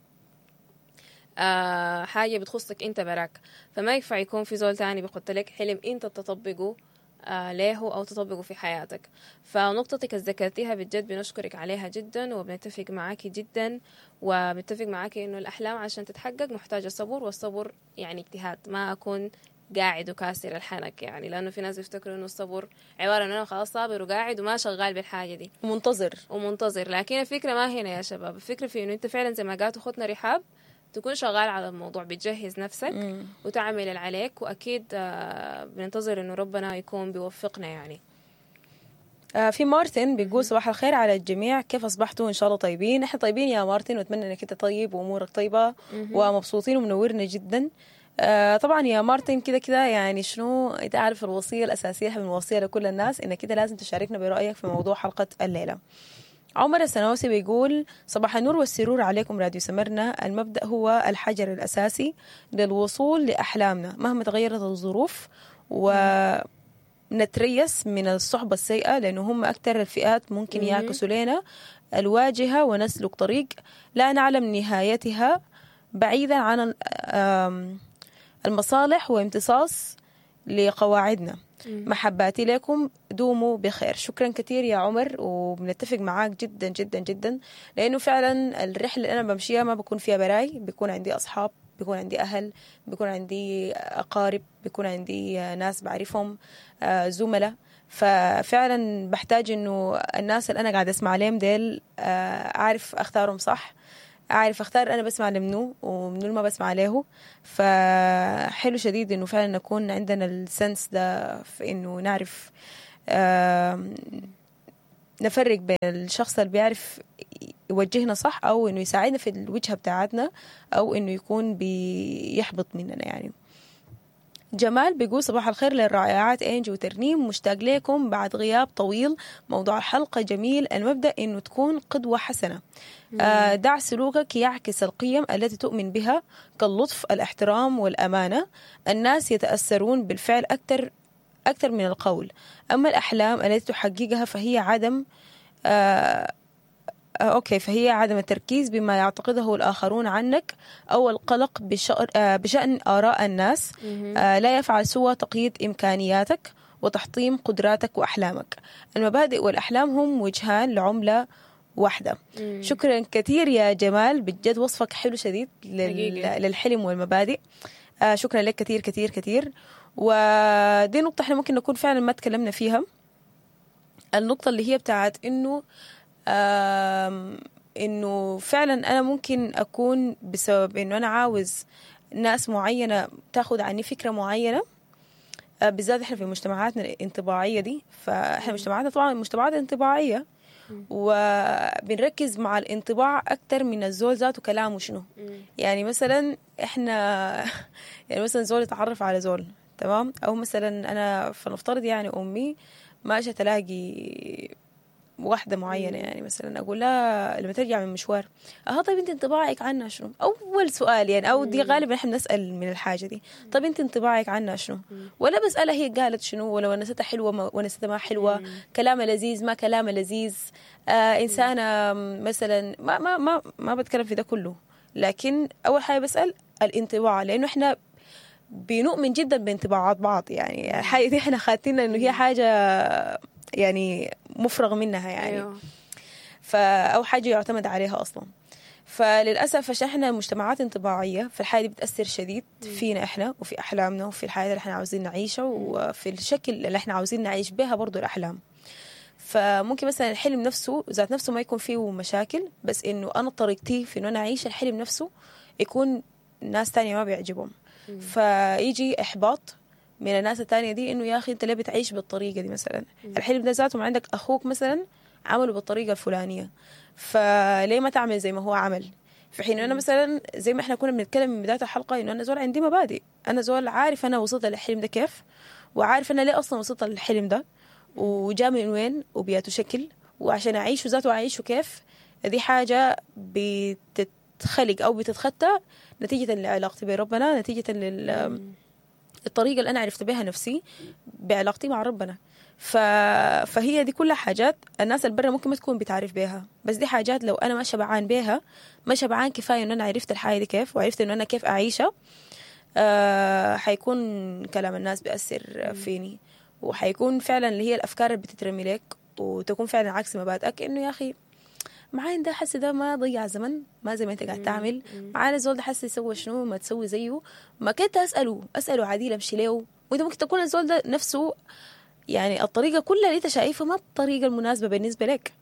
آه حاجة بتخصك أنت براك، فما ينفع يكون في زول تاني بيحط لك حلم أنت تطبقه آه له أو تطبقه في حياتك. فنقطتك اللي ذكرتيها بجد بنشكرك عليها جدا، وبنتفق معاكي جدا، وبنتفق معاكي إنه الأحلام عشان تتحقق محتاجة صبر، والصبر يعني اجتهاد، ما أكون قاعد وكاسر الحنك يعني، لأنه في ناس بيفتكروا إنه الصبر عبارة إنه أنا خلاص صابر وقاعد وما شغال بالحاجة دي ومنتظر ومنتظر. لكن الفكرة ما هنا يا شباب، الفكرة في إنه أنت فعلا زي ما قالت أختنا رحاب تكون شغال على الموضوع، بتجهز نفسك مم. وتعمل اللي عليك، وأكيد بننتظر إنه ربنا يكون بيوفقنا يعني. آه في مارتن بيقول صباح الخير على الجميع، كيف أصبحتوا؟ إن شاء الله طيبين. إحنا طيبين يا مارتن، وأتمنى إنك أنت طيب وأمورك طيبة مم. ومبسوطين ومنورنا جدا. آه طبعا يا مارتن كده كده يعني شنو انت عارف الوصية الأساسية من الوصية لكل الناس إنك كده لازم تشاركنا برأيك في موضوع حلقة الليلة. عمر السنوسي بيقول صباح النور والسرور عليكم راديو سمرنا. المبدأ هو الحجر الأساسي للوصول لأحلامنا مهما تغيرت الظروف، ونتريس من الصحبة السيئة لأنه هم أكثر الفئات ممكن يعكسوا لنا الواجهة ونسلك طريق لا نعلم نهايتها بعيدا عن ال- آم، المصالح وامتصاص لقواعدنا. محباتي لكم، دوموا بخير. شكرا كثير يا عمر، وبنتفق معاك جدا جدا جدا، لأنه فعلا الرحلة اللي أنا بمشيها ما بكون فيها براي، بيكون عندي أصحاب، بيكون عندي أهل، بيكون عندي أقارب، بيكون عندي ناس بعرفهم، آه، زملاء. ففعلا بحتاج إنه الناس اللي أنا قاعدة أسمع لهم ديل آه، أعرف أختارهم صح، أعرف أختار أنا بسمع لمنو ومنو اللي ما بسمع له. فحلو شديد إنه فعلا نكون عندنا ال sense ده في إنه نعرف آم، نفرق بين الشخص اللي بيعرف يوجهنا صح، أو إنه يساعدنا في الوجهة بتاعتنا، أو إنه يكون بيحبط مننا يعني. جمال بيقول صباح الخير للرائعات إنجي وترنيم، مشتاق لكم بعد غياب طويل. موضوع الحلقة جميل، المبدأ إنه تكون قدوة حسنة. آه، دع سلوكك يعكس القيم التي تؤمن بها كاللطف، الاحترام والأمانة. الناس يتأثرون بالفعل أكثر أكثر من القول. أما الأحلام التي تحققها فهي عدم آه آه، okay فهي عدم التركيز بما يعتقده الآخرون عنك أو القلق بشأن, آه، بشأن آراء الناس. آه، لا يفعل سوى تقييد إمكانياتك وتحطيم قدراتك وأحلامك. المبادئ والأحلام هم وجهان لعملة واحدة. شكرا كثير يا جمال، بجد وصفك حلو شديد لل... حقيقي. للحلم والمبادئ. آه شكرا لك كثير كثير كثير. ودي نقطة احنا ممكن نكون فعلا ما تكلمنا فيها، النقطة اللي هي بتاعت انه آم، انه فعلا انا ممكن اكون بسبب انه انا عاوز ناس معينة تاخد عني فكرة معينة، آه، بالذات احنا في مجتمعاتنا الانطباعية دي. فاحنا مجتمعاتنا طبعا مجتمعات انطباعية، وبنركز مع الانطباع اكتر من الزول ذاته كلامه شنو. يعني مثلا احنا يعني مثلا زول يتعرف على زول، تمام، او مثلا انا فنفترض يعني امي ماشية تلاقي واحدة معينة، يعني مثلا أقول لها لما ترجع من مشوار، أها طيب أنت انطباعك عنها شنو؟ أول سؤال يعني، أو دي غالبا إحنا بنسأل من الحاجة دي، طب أنت انطباعك عنها شنو؟ ولا بسألها هي قالت شنو، ولا ونستها حلوة ما ونستها ما حلوة، كلامها لذيذ ما كلامها لذيذ، آه إنسانة مثلا ما ما ما ما بتكلم في ده كله، لكن أول حاجة بسأل الانطباع، لأنه إحنا بنؤمن جدا بانطباعات بعض. يعني الحاجة دي إحنا خاتينا إنه هي حاجة يعني مفرغ منها يعني. أيوه. فا أو حاجة يعتمد عليها أصلا. فللأسف عشان إحنا مجتمعات انطباعية، فالحاجة دي بتأثر شديد فينا إحنا وفي أحلامنا وفي الحياة اللي إحنا عاوزين نعيشها وفي الشكل اللي إحنا عاوزين نعيش بها برضو الأحلام. فممكن مثلا الحلم نفسه ذات نفسه ما يكون فيه مشاكل، بس إنه أنا طريقتي في إنه أنا أعيش الحلم نفسه يكون ناس تانية ما بيعجبهم، فيجي إحباط من الناس التانية دي إنه يا أخي أنت ليه بتعيش بالطريقة دي مثلا؟ الحلم ده ذاته ما عندك أخوك مثلا عمله بالطريقة الفلانية، فليه ما تعمل زي ما هو عمل؟ في حين أنا مثلا زي ما إحنا كنا بنتكلم من بداية الحلقة إنه أنا زول عندي مبادئ، أنا زول عارف أنا وصلت للحلم ده كيف، وعارف أنا ليه أصلا وصلت للحلم ده، وجا من وين وبياته شكل، وعشان أعيشه ذاته أعيشه كيف. دي حاجة بتتخلق أو بتتخطى نتيجة لعلاقتي بربنا، نتيجة لل الطريقة اللي أنا عرفت بها نفسي بعلاقتي مع ربنا. ف... فهي دي كلها حاجات الناس البرة ممكن ما تكون بتعرف بيها، بس دي حاجات لو أنا ما شبعان بيها، ما شبعان كفاية إنه أنا عرفت الحاجة دي كيف، وعرفت إنه أنا كيف أعيشها، أه... حيكون كلام الناس بيأثر فيني، وحيكون فعلا اللي هي الأفكار اللي بتترمي لك وتكون فعلا عكس مبادئك، إنه يا أخي معاين ده حس ده ما ضيع زمن، ما زي ما انت قاعد تعمل، معانا الزول ده حس يسوي شنو ما تسوي زيه، ما كنت اساله اساله عديل امشي له. وانت ممكن تكون الزول ده نفسه يعني الطريقة كلها اللي انت شايفها ما الطريقة المناسبة بالنسبة لك،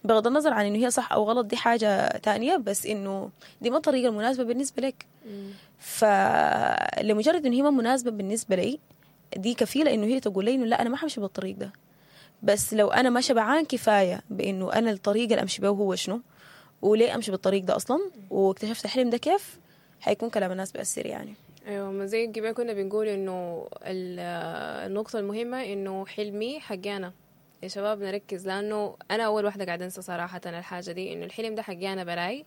بغض النظر عن انه هي صح او غلط دي حاجة تانية، بس انه دي ما الطريقة المناسبة بالنسبة لك. فلمجرد انه هي ما مناسبة بالنسبة لي دي كفيله انه هي تقول لي انه لا انا ما حمشي بالطريق ده. بس لو أنا ما شبعان كفاية بإنه أنا الطريقة اللي أمشي بيه هو شنو، وليه أمشي بالطريق ده أصلا، واكتشفت الحلم ده كيف، حيكون كلام الناس بأثر يعني. أيوة، ما زي قبل كنا بنقول إنه النقطة المهمة إنه حلمي حقي أنا يا شباب، نركز، لأنه أنا أول واحدة قاعدة أنسى صراحة الحاجة دي، إنه الحلم ده حقي أنا براي،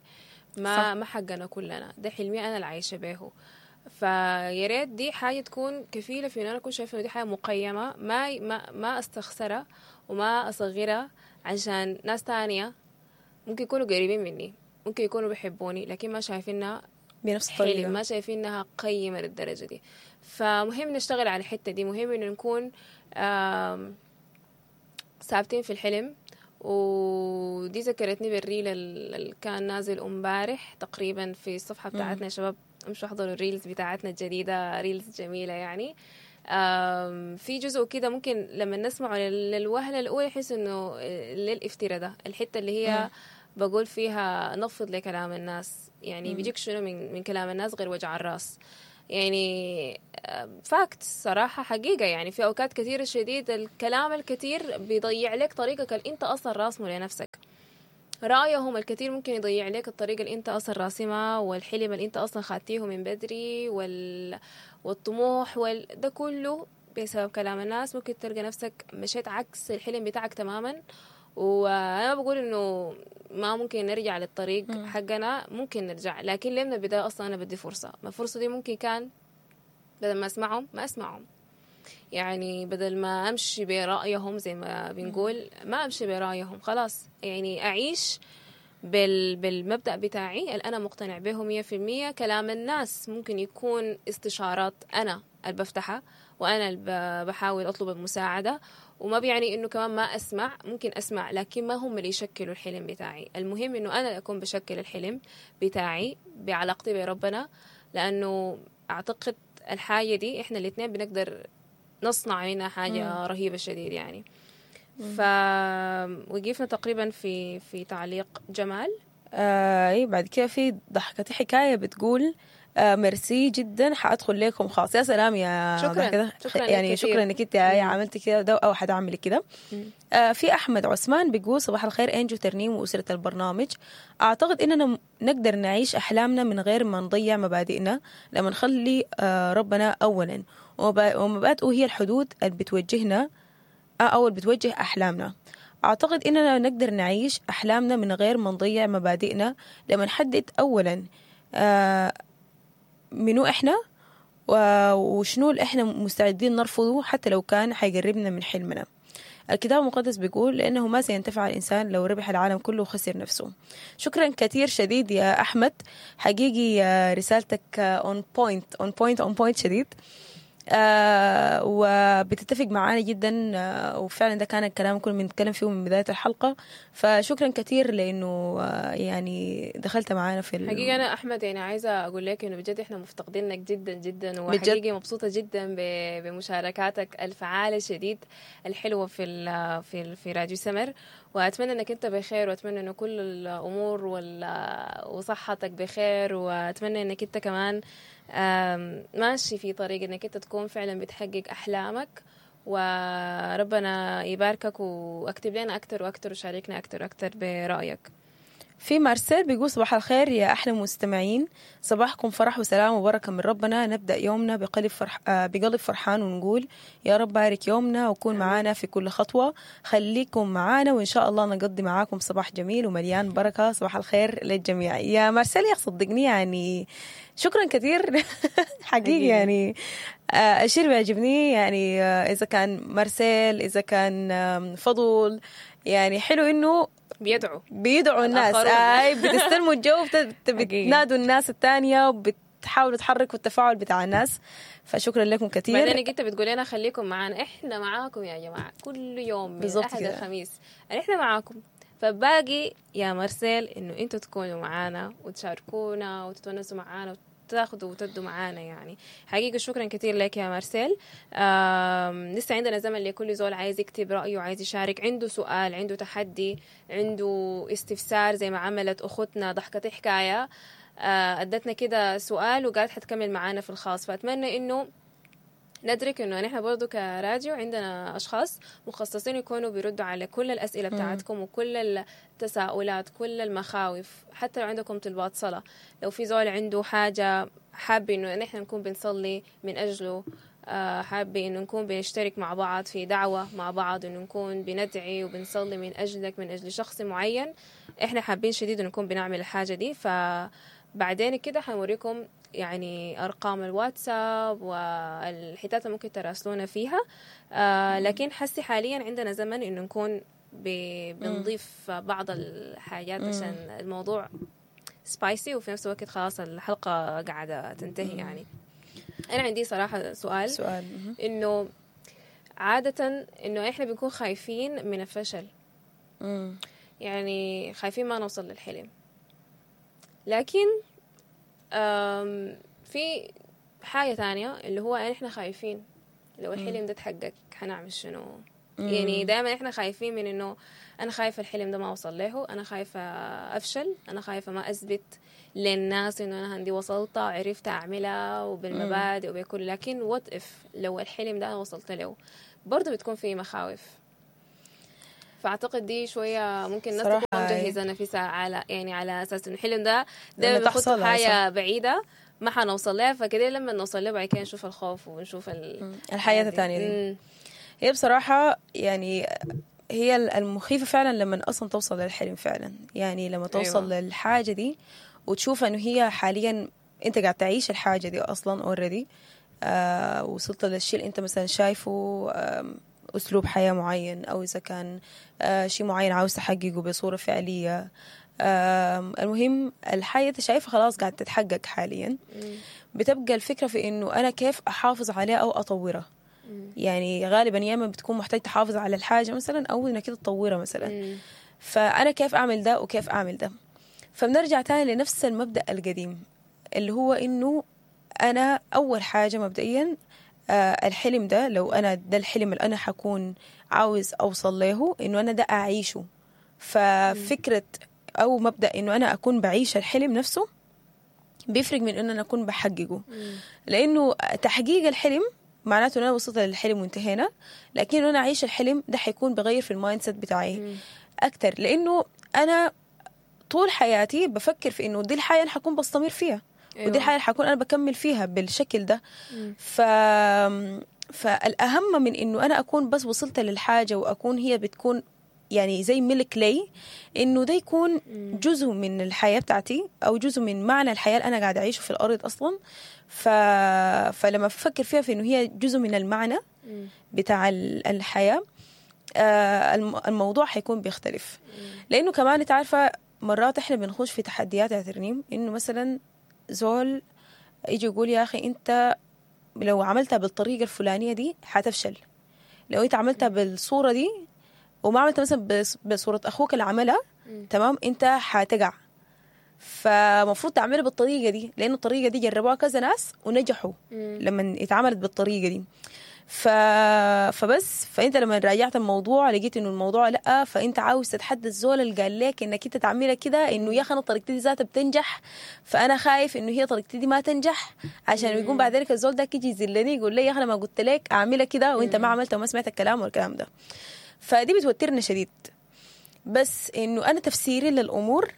ما ما حقنا كلنا، ده حلمي أنا اللي عايشة به. فيا ريت دي حاجة تكون كفيلة في إن أنا أكون شايفة إنه دي حاجة مقيمة، ما ما ما أستخسرها وما أصغرها عشان ناس تانية ممكن يكونوا قريبين مني، ممكن يكونوا بيحبوني، لكن ما شايفينها بنفس الطريقة. حلم، ما شايفينها قيمة للدرجة دي. فمهم نشتغل على الحتة دي، مهم انه نكون آم، ثابتين في الحلم. ودي ذكرتني بال reel اللي كان نازل امبارح تقريبا في الصفحة بتاعتنا. يا شباب امشوا احضروا ال reels بتاعتنا الجديدة، reels جميلة يعني. آم، في جزء كده ممكن لما نسمعه لل- للوهلة الأولى يحس إنه ليه الافتراء ده، الحتة اللي هي بقول فيها نفض لكلام الناس، يعني بيجيك شنو من, من كلام الناس غير وجع الراس يعني. fact صراحة حقيقة يعني في أوقات كثيرة شديد الكلام الكثير بيضيع لك طريقك اللي أنت أصلا راسمه لنفسك. رأيهم الكثير ممكن يضيع لك الطريقة اللي أنت أصلا راسمها، والحلم اللي أنت أصلا خاتيه من بدري، وال... والطموح وال... ده كله بسبب كلام الناس. ممكن تلقى نفسك مشيت عكس الحلم بتاعك تماما. وأنا ما بقول إنه ما ممكن نرجع للطريق حقنا، ممكن نرجع، لكن ليه من البداية أصلا أنا بدي فرصة؟ ما الفرصة دي ممكن كان بدل ما أسمعهم ما أسمعهم، يعني بدل ما أمشي برأيهم زي ما بنقول ما أمشي برأيهم، خلاص يعني أعيش بال بالمبدأ بتاعي اللي أنا مقتنع به مية في المية. كلام الناس ممكن يكون استشارات أنا اللي بفتحها وأنا اللي بحاول أطلب المساعدة، وما بيعني إنه كمان ما أسمع، ممكن أسمع لكن ما هم اللي يشكلوا الحلم بتاعي. المهم إنه أنا اللي أكون بشكل الحلم بتاعي بعلاقتي بربنا، لأنه أعتقد الحاجة دي إحنا الاثنين بنقدر نصنع منها حاجة مم. رهيبة شديد يعني. فوقفنا تقريبا في في تعليق جمال. آه إيه بعد كده في ضحكتي حكاية بتقول آه ميرسي جدا حادخل لكم خاص. يا سلام يا شكرا، شكرا يعني شكرا انك انت عملتي كده ده او حتعملي كده. آه في احمد عثمان بيقول صباح الخير انجو ترنيم واسره البرنامج. اعتقد اننا نقدر نعيش احلامنا من غير ما نضيع مبادئنا لما نخلي آه ربنا اولا، ومبادئه هي الحدود اللي بتوجهنا او اللي بتوجه احلامنا. اعتقد اننا نقدر نعيش احلامنا من غير ما نضيع مبادئنا لما نحدد اولا آه منو احنا وشنو اللي احنا مستعدين نرفضه حتى لو كان حيقربنا من حلمنا. الكتاب المقدس بيقول لانه ما سينتفع الانسان لو ربح العالم كله وخسر نفسه. شكرا كثير شديد يا احمد، حقيقي رسالتك on point on point on point شديد، آه وبتتفق معانا جدا، آه وفعلا ده كان الكلام كله بنتكلم فيه من بداية الحلقة. فشكرا كثير لأنه آه يعني دخلت معانا في حقيقة. أنا أحمد يعني عايزة أقول لك إنه بجد إحنا مفتقدينك جدا جدا، وحقيقي مبسوطة جدا بمشاركاتك الفعالة شديد الحلوة في ال في ال في راديو سمر، وأتمنى إنك أنت بخير، وأتمنى إنه كل الأمور وصحتك بخير، وأتمنى إنك أنت كمان ماشي في طريق انك انت تكون فعلا بتحقق احلامك، وربنا يباركك واكتب لنا اكتر واكتر وشاركنا اكتر واكتر برايك. في مارسيل بيقول صباح الخير يا احلى مستمعين، صباحكم فرح وسلام وبركة من ربنا. نبدا يومنا بقلب فرح بقلب فرحان ونقول يا رب بارك يومنا وكون معانا في كل خطوة. خليكم معانا وان شاء الله نقضي معاكم صباح جميل ومليان بركة. صباح الخير للجميع. يا مارسيل يا صدقني يعني شكرا كثير حقيقي يعني الشيء اللي بيعجبني يعني اذا كان مارسيل اذا كان فضول، يعني حلو انه بيدعوا بيدعوا الناس، اي بتستلموا الجو، بتنادوا الناس الثانية وبتحاولوا تحركوا التفاعل بتاع الناس. فشكرا لكم كثير. بعدين انت بتقول لنا خليكم معانا، احنا معاكم يا جماعة كل يوم من الاحد الخميس احنا معاكم. فباقي يا مارسيل انه انتوا تكونوا معانا وتشاركونا وتتونسوا معانا وتاخذوا وتدوا معانا يعني. حقيقة شكرا كثير لك يا مارسيل. لسه عندنا زمن لكل زول عايز يكتب رأيه، عايز يشارك، عنده سؤال، عنده تحدي، عنده استفسار، زي ما عملت أختنا ضحكة حكاية، أدتنا كده سؤال وقالت حتكمل معانا في الخاص. فأتمنى إنه ندرك إنه نحن برضو كراديو عندنا أشخاص مخصصين يكونوا بيردوا على كل الأسئلة بتاعتكم وكل التساؤلات، كل المخاوف، حتى لو عندكم طلبات صلاة، لو في زول عنده حاجة حاب إنه نحن نكون بنصلي من أجله، حاب إنه نكون بنشترك مع بعض في دعوة مع بعض، إنه نكون بندعي وبنصلي من أجلك، من أجل شخص معين، إحنا حابين شديد إنه نكون بنعمل الحاجة دي. فبعدين كده حنوريكم يعني أرقام الواتساب والحتات اللي ممكن تراسلونا فيها. آه لكن حسي حاليا عندنا زمن إنه نكون بنضيف بعض الحاجات عشان الموضوع spicy، وفي نفس الوقت خلاص الحلقة قاعدة تنتهي يعني. انا عندي صراحة سؤال. سؤال مهم. انه عادة انه احنا بنكون خايفين من الفشل. مم. يعني خايفين ما نوصل للحلم، لكن آم، في حاجة تانية اللي هو احنا خايفين لو الحلم ده اتحقق حنعمل شنو؟ يعني دائما احنا خايفين من انه انا خايفة الحلم ده ما اوصل له، انا خايفة افشل، انا خايفة ما اثبت للناس انه انا عندي وصلت وعرفت اعملها وبالمبادئ وبكل، لكن what if لو الحلم ده انا وصلت له برضه بتكون في مخاوف. فاعتقد دي شوية ممكن الناس صراحة تكون أي. مجهزة نفسها على يعني على اساس انه الحلم ده لما دايما بنحط تحصل حاجة بعيدة ما حنوصل لها، فكده لما نوصل لها بعد كده نشوف الخوف ونشوف ال... الحياة الثانية دي. مم. هي بصراحة يعني هي المخيفة فعلا لما أصلا توصل للحلم فعلا، يعني لما توصل أيوة. للحاجة دي وتشوف إنه هي حاليا أنت قاعد تعيش الحاجة دي أصلا already، آه وصلت للشيء اللي أنت مثلا شايفه، آم، أسلوب حياة معين، أو إذا كان آه شيء معين عاوز تحققه بصورة فعلية. آم، المهم الحاجة أنت شايفها خلاص قاعد تتحقق حاليا. مم. بتبقى الفكرة في إنه أنا كيف أحافظ عليها أو أطورها. مم. يعني غالبا يا اما بتكون محتاج تحافظ على الحاجة مثلا او انك كده تطورها مثلا. مم. فانا كيف اعمل ده وكيف اعمل ده؟ فبنرجع تاني لنفس المبدا القديم اللي هو انه انا اول حاجة مبدئيا آه الحلم ده لو انا ده الحلم اللي انا حكون عاوز اوصل له، انه انا ده اعيشه. ففكره او مبدا انه انا اكون بعيش الحلم نفسه بيفرق من انه انا اكون بحققه. مم. لانه تحقيق الحلم معناته ان انا وصلت للحلم وانتهينا، لكن انا اعيش الحلم ده حيكون بغير في ال mindset بتاعي مم. اكتر، لانه انا طول حياتي بفكر في انه دي الحياة اللي حكون بستمر فيها. أيوة. ودي الحياة اللي حكون انا بكمل فيها بالشكل ده. مم. ف فالاهم من انه انا اكون بس وصلت للحاجة واكون هي بتكون يعني زي ملك لي، انه ده يكون جزء من الحياة بتاعتي او جزء من معنى الحياة اللي انا قاعدة اعيشه في الارض اصلا. ف... فلما افكر فيها في انه هي جزء من المعنى مم. بتاع ال- الحياة، آه، الم- الموضوع حيكون بيختلف. لانه كمان انت عارفه مرات احنا بنخش في تحديات يا ترنيم، انه مثلا زول يجي يقول يا اخي انت لو عملتها بالطريقة الفلانية دي حتفشل، لو انت عملتها بالصورة دي وما عملتها مثلا بص- بصورة اخوك اللي عملها مم. تمام انت حتقع، فمفروض تعملها بالطريقة دي لانه الطريقة دي جربوها كذا ناس ونجحوا مم. لما اتعملت بالطريقة دي. ف... فبس فانت لما راجعت الموضوع لقيت انه الموضوع لا، فانت عاوز تتحدى الزول اللي قال لك انك انت تعملها كده، انه يا اخي انا طريقتي دي ذاتها بتنجح، فانا خايف انه هي طريقتي دي ما تنجح، عشان يقوم بعد ذلك الزول ده يجي يذلني يقول لي يا اخي انا ما قلت لك اعملها كده وانت ما عملتها وما سمعت الكلام والكلام ده. فدي بتوترنا شديد. بس انه انا تفسيري للامور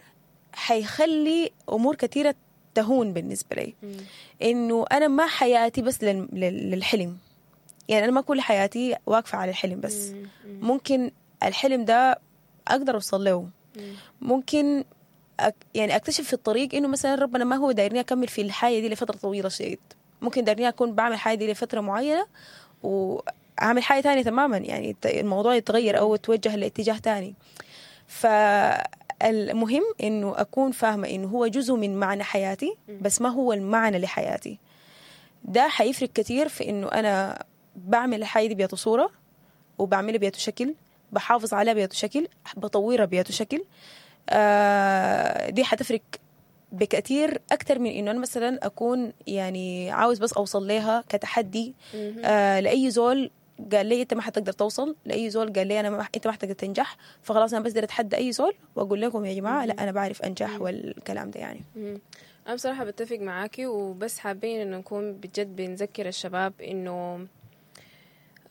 حيخلي امور كثيرة تهون بالنسبة لي. مم. انه انا ما حياتي بس لل- لل- للحلم، يعني انا ما كل حياتي واقفة على الحلم بس. مم. ممكن الحلم ده اقدر اوصل له، مم. ممكن أك يعني اكتشف في الطريق انه مثلا ربنا ما هو دايرني اكمل في الحياة دي لفترة طويلة شديد، ممكن دايرني اكون بعمل حاجة دي لفترة معينة واعمل حاجة تانية تماما، يعني الت- الموضوع يتغير او يتوجه لاتجاه تاني. فالمهم انه اكون فاهمه انه هو جزء من معنى حياتي بس ما هو المعنى لحياتي. ده حيفرق كتير في انه انا بعمل الحاجة دي بياتو صوره، وبعملها بياتو شكل، بحافظ عليها بياتو شكل، بطورها بياتو شكل. آه دي حتفرق بكثير اكثر من انه انا مثلا اكون يعني عاوز بس اوصل لها كتحدي. آه لاي زول قال لي انت ما حتقدر توصل، لاي زول قال لي انا ما انت ما حتقدر تنجح، فخلاص انا بس بدي اتحدى اي زول واقول لكم يا جماعة لا انا بعرف انجح والكلام ده يعني. مم. أنا بصراحة بتفق معاكي، وبس حابين إنه نكون بجد بنذكر الشباب إنه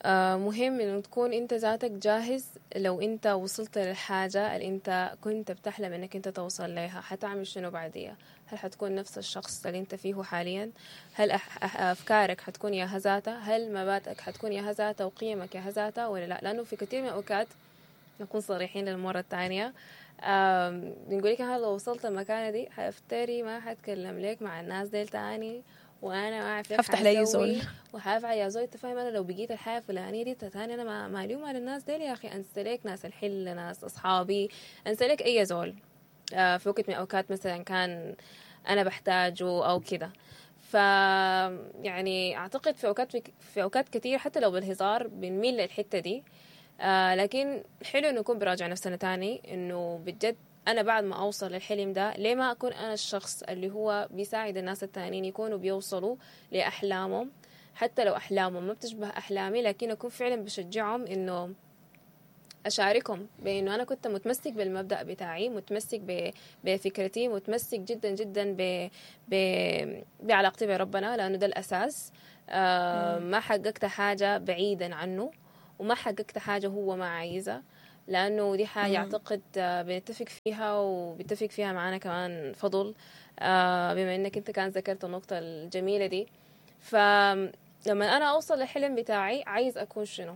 آه، مهم إنه تكون أنت ذاتك جاهز. لو أنت وصلت للحاجة اللي أنت كنت بتحلم إنك أنت توصل لها، حتعمل شنو بعديها؟ هل حتكون نفس الشخص اللي أنت فيه حاليا؟ هل أح- أح- أفكارك حتكون ياها ذاتها؟ هل مبادئك حتكون ياها ذاتها وقيمك ياها ذاتها ولا لا؟ لأنه في كثير من الأوقات نكون صريحين للمرة الثانية، آم، بنقول لك أنا لو وصلت المكانة دي حافتري ما حتكلم لك مع الناس ديل تاني، وانا ما اعرف لك هفتح لأي حاسوي زول. وحافعل يا زول. انت فاهم انا لو بقيت الحياة الفلانية دي تاني انا ما مالي ومال الناس ديل يا اخي، انسى لك ناس الحلة، ناس اصحابي، انسى لك اي زول. آه، في وقت من الأوقات مثلا كان أنا بحتاجه أو كده. ف يعني أعتقد في أوقات في أوقات كتير حتى لو بالهزار بنميل للحتة دي، آه لكن حلو إنه نكون براجع نفسنا تاني، إنه بجد أنا بعد ما أوصل للحلم ده ليه ما أكون أنا الشخص اللي هو بيساعد الناس التانيين يكونوا بيوصلوا لأحلامهم، حتى لو أحلامهم ما بتشبه أحلامي، لكن أكون فعلا بشجعهم إنه أشاركهم بأنه أنا كنت متمسك بالمبدأ بتاعي، متمسك ب... بفكرتي، متمسك جدا جدا ب... ب... بعلاقتي بربنا، لأنه ده الأساس. آه ما حققت حاجة بعيدا عنه، وما حققت حاجة هو ما عايزها، لأنه دي حاجة أعتقد بنتفق فيها وبتفق فيها معانا كمان فضل، آه بما أنك أنت كان ذكرت النقطة الجميلة دي. فلما أنا أوصل للحلم بتاعي عايز أكون شنو،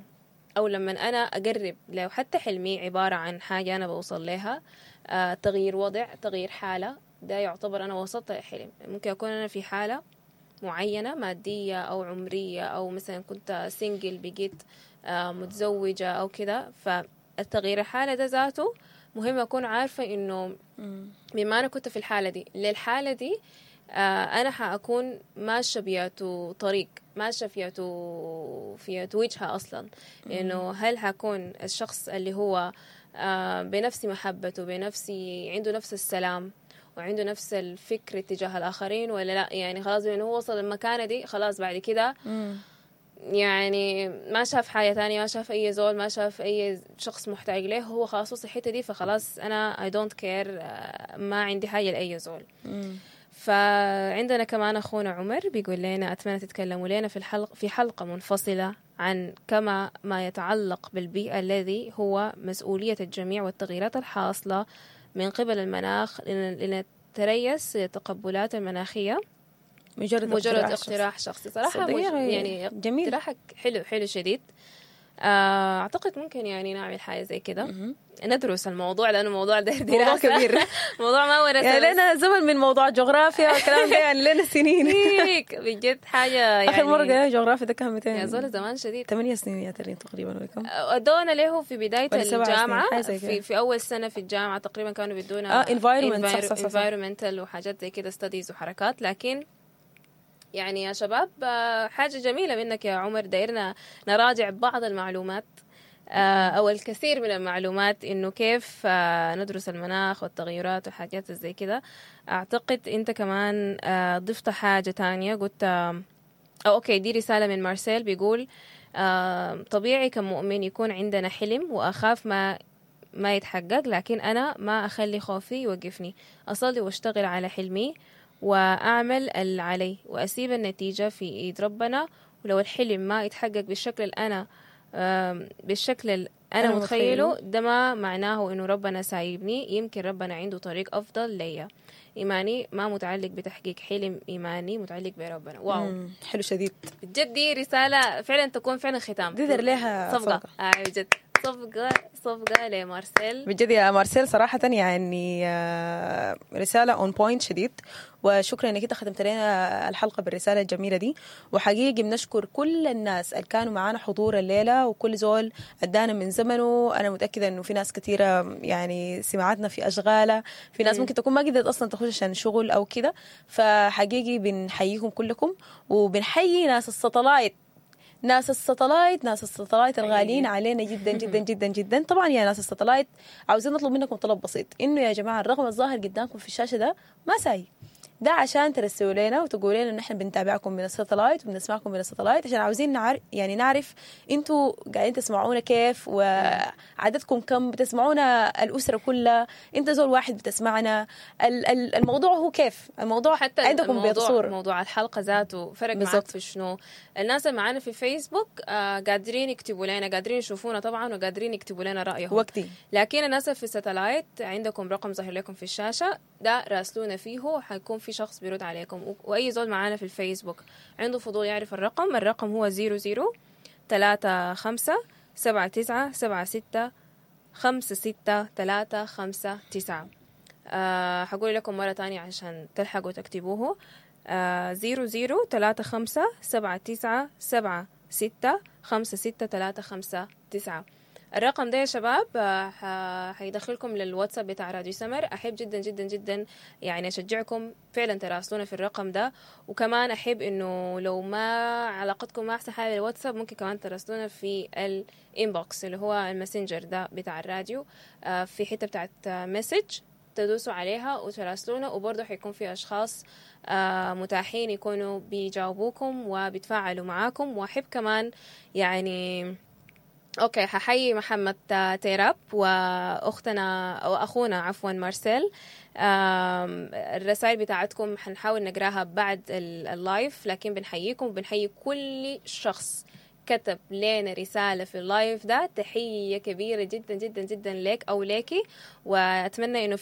أو لما أنا أقرب لو حتى حلمي عبارة عن حاجة أنا بوصل لها، آه تغيير وضع، تغيير حالة، ده يعتبر أنا وصلت للحلم. ممكن أكون أنا في حالة معينة مادية أو عمرية، أو مثلا كنت single بقيت آه متزوجة أو كده، فالتغيير الحالة ده ذاته مهم أكون عارفة إنه بما أنا كنت في الحالة دي للحالة دي آه أنا حأكون ماشية بياتو طريق، ماشية فياتو فياتو وجهة أصلا، إنه هل حكون الشخص اللي هو آه بنفس محبته، بنفس عنده نفس السلام وعنده نفس الفكر تجاه الآخرين ولا لا. يعني خلاص بأنه هو وصل المكانة دي خلاص بعد كده يعني ما شاف حاجة تانية، ما شاف أي زول، ما شاف أي شخص محتاج له، هو خلاص وصل الحتة دي، فخلاص أنا I don't care، ما عندي حاجة لأي زول. فعندنا كمان أخونا عمر بيقول لنا أتمنى تتكلموا لنا في الحلقة في حلقة منفصلة عن كما ما يتعلق بالبيئة الذي هو مسؤولية الجميع والتغييرات الحاصلة من قبل المناخ لنتريس التقبلات المناخية. مجرد, مجرد اقتراح شخصي صراحة مج... يعني جميل، اقتراحك حلو حلو شديد. أعتقد ممكن يعني نعمل حاجة زي كده، ندرس الموضوع لأنه موضوع ده دراسة موضوع كبير موضوع ما ورثة يعني لنا زمن من موضوع جغرافيا والكلام ده، يعني لنا سنين بجد حاجة يعني. آخر مرة قرينا جغرافيا ده كان مئتين يا زول زمان شديد، ثمانية سنين يا ترين تقريبا ولا كم أدونا له في بداية الجامعة، في, في أول سنة في الجامعة تقريبا كانوا بيدونا آه environment صح صح صح environmental وحاجات زي كده studies وحركات. لكن يعني يا شباب حاجة جميلة منك يا عمر، دايرنا نراجع بعض المعلومات أو الكثير من المعلومات إنه كيف ندرس المناخ والتغيرات وحاجات زي كده. أعتقد أنت كمان ضفت حاجة تانية، قلت أو okay دي رسالة من مارسيل بيقول طبيعي كمؤمن يكون عندنا حلم وأخاف ما ما يتحقق، لكن أنا ما أخلي خوفي يوقفني، أصلي واشتغل على حلمي وأعمل اللي علي وأسيب النتيجة في إيد ربنا، ولو الحلم ما يتحقق بالشكل اللي أنا بالشكل اللي أنا متخيله ده ما معناه إنه ربنا سايبني، يمكن ربنا عنده طريق أفضل ليا. إيماني ما متعلق بتحقيق حلم، إيماني متعلق بربنا. wow حلو شديد بجد، دي رسالة فعلا تكون فعلا ختام، دي لها صفقة آه بجد صفقة صفقة لمارسيل بجد يا مارسيل صراحة، يعني رسالة on point شديد، وشكرا انك انت ختمت لنا الحلقة بالرسالة الجميلة دي. وحقيقي بنشكر كل الناس اللي كانوا معانا حضور الليلة، وكل زول ادانا من زمنه. انا متأكدة انه في ناس كثيرة يعني سمعتنا في اشغالة، في ناس ممكن تكون ما قدرت اصلا تخش عشان شغل او كده، فحقيقي بنحييكم كلكم، وبنحيي ناس الساتلايت، ناس الساتلايت ناس الساتلايت الغاليين علينا جدا جدا جدا جدا. طبعا يا ناس الساتلايت عاوزين نطلب منكم طلب بسيط، انه يا جماعة الرقم الظاهر قدامكم في الشاشة ده ما ساي ده عشان ترسلوا لنا وتقولوا لنا ان احنا بنتابعكم من الساتلايت وبنسمعكم من الساتلايت، عشان عاوزين نعرف يعني نعرف انتوا قاعدين تسمعونا كيف، وعددكم كم بتسمعونا، الاسرة كلها، انت زول واحد بتسمعنا، الموضوع هو كيف الموضوع حتى عندكم بيتصور موضوع الحلقة ذاته فرق معاك في شنو. الناس اللي معانا في فيسبوك آه قادرين يكتبوا لنا، قادرين يشوفونا طبعا، وقادرين يكتبوا لنا رايهم وقتي، لكن الناس في الساتلايت عندكم رقم ظاهر لكم في الشاشة ده راسلونا فيه، حيكون في شخص بيرد عليكم. وأي زول معانا في الفيسبوك عنده فضول يعرف الرقم، الرقم هو زيرو زيرو تلاتة خمسة سبعة تسعة سبعة ستة خمسة ستة تلاتة خمسة تسعة. أه حقول لكم مرة تانية عشان تلحقوا تكتبوه، أه زيرو زيرو تلاتة خمسة سبعة تسعة سبعة ستة خمسة ستة تلاتة خمسة تسعة. الرقم ده يا شباب آه، ح- حيدخلكم للواتساب بتاع راديو سمر. احب جدا جدا جدا يعني اشجعكم فعلا تراسلونا في الرقم ده، وكمان احب انه لو ما علاقتكم ما احسن حاجة بالواتساب ممكن كمان تراسلونا في ال inbox اللي هو الماسنجر ده بتاع الراديو، آه، في حتة بتاعت message تدوسوا عليها وتراسلونا، وبرضه حيكون في اشخاص آه، متاحين يكونوا بيجاوبوكم وبيتفاعلوا معاكم. واحب كمان يعني okay ححيي محمد تيراب واختنا او اخونا عفوا مارسيل. آم، الرسائل بتاعتكم حنحاول نقراها بعد ال- ال live، لكن بنحييكم وبنحيي كل شخص كتب لنا رسالة في ال live ده. تحية كبيرة جدا جدا جدا لك أو ليكي، وأتمنى إنه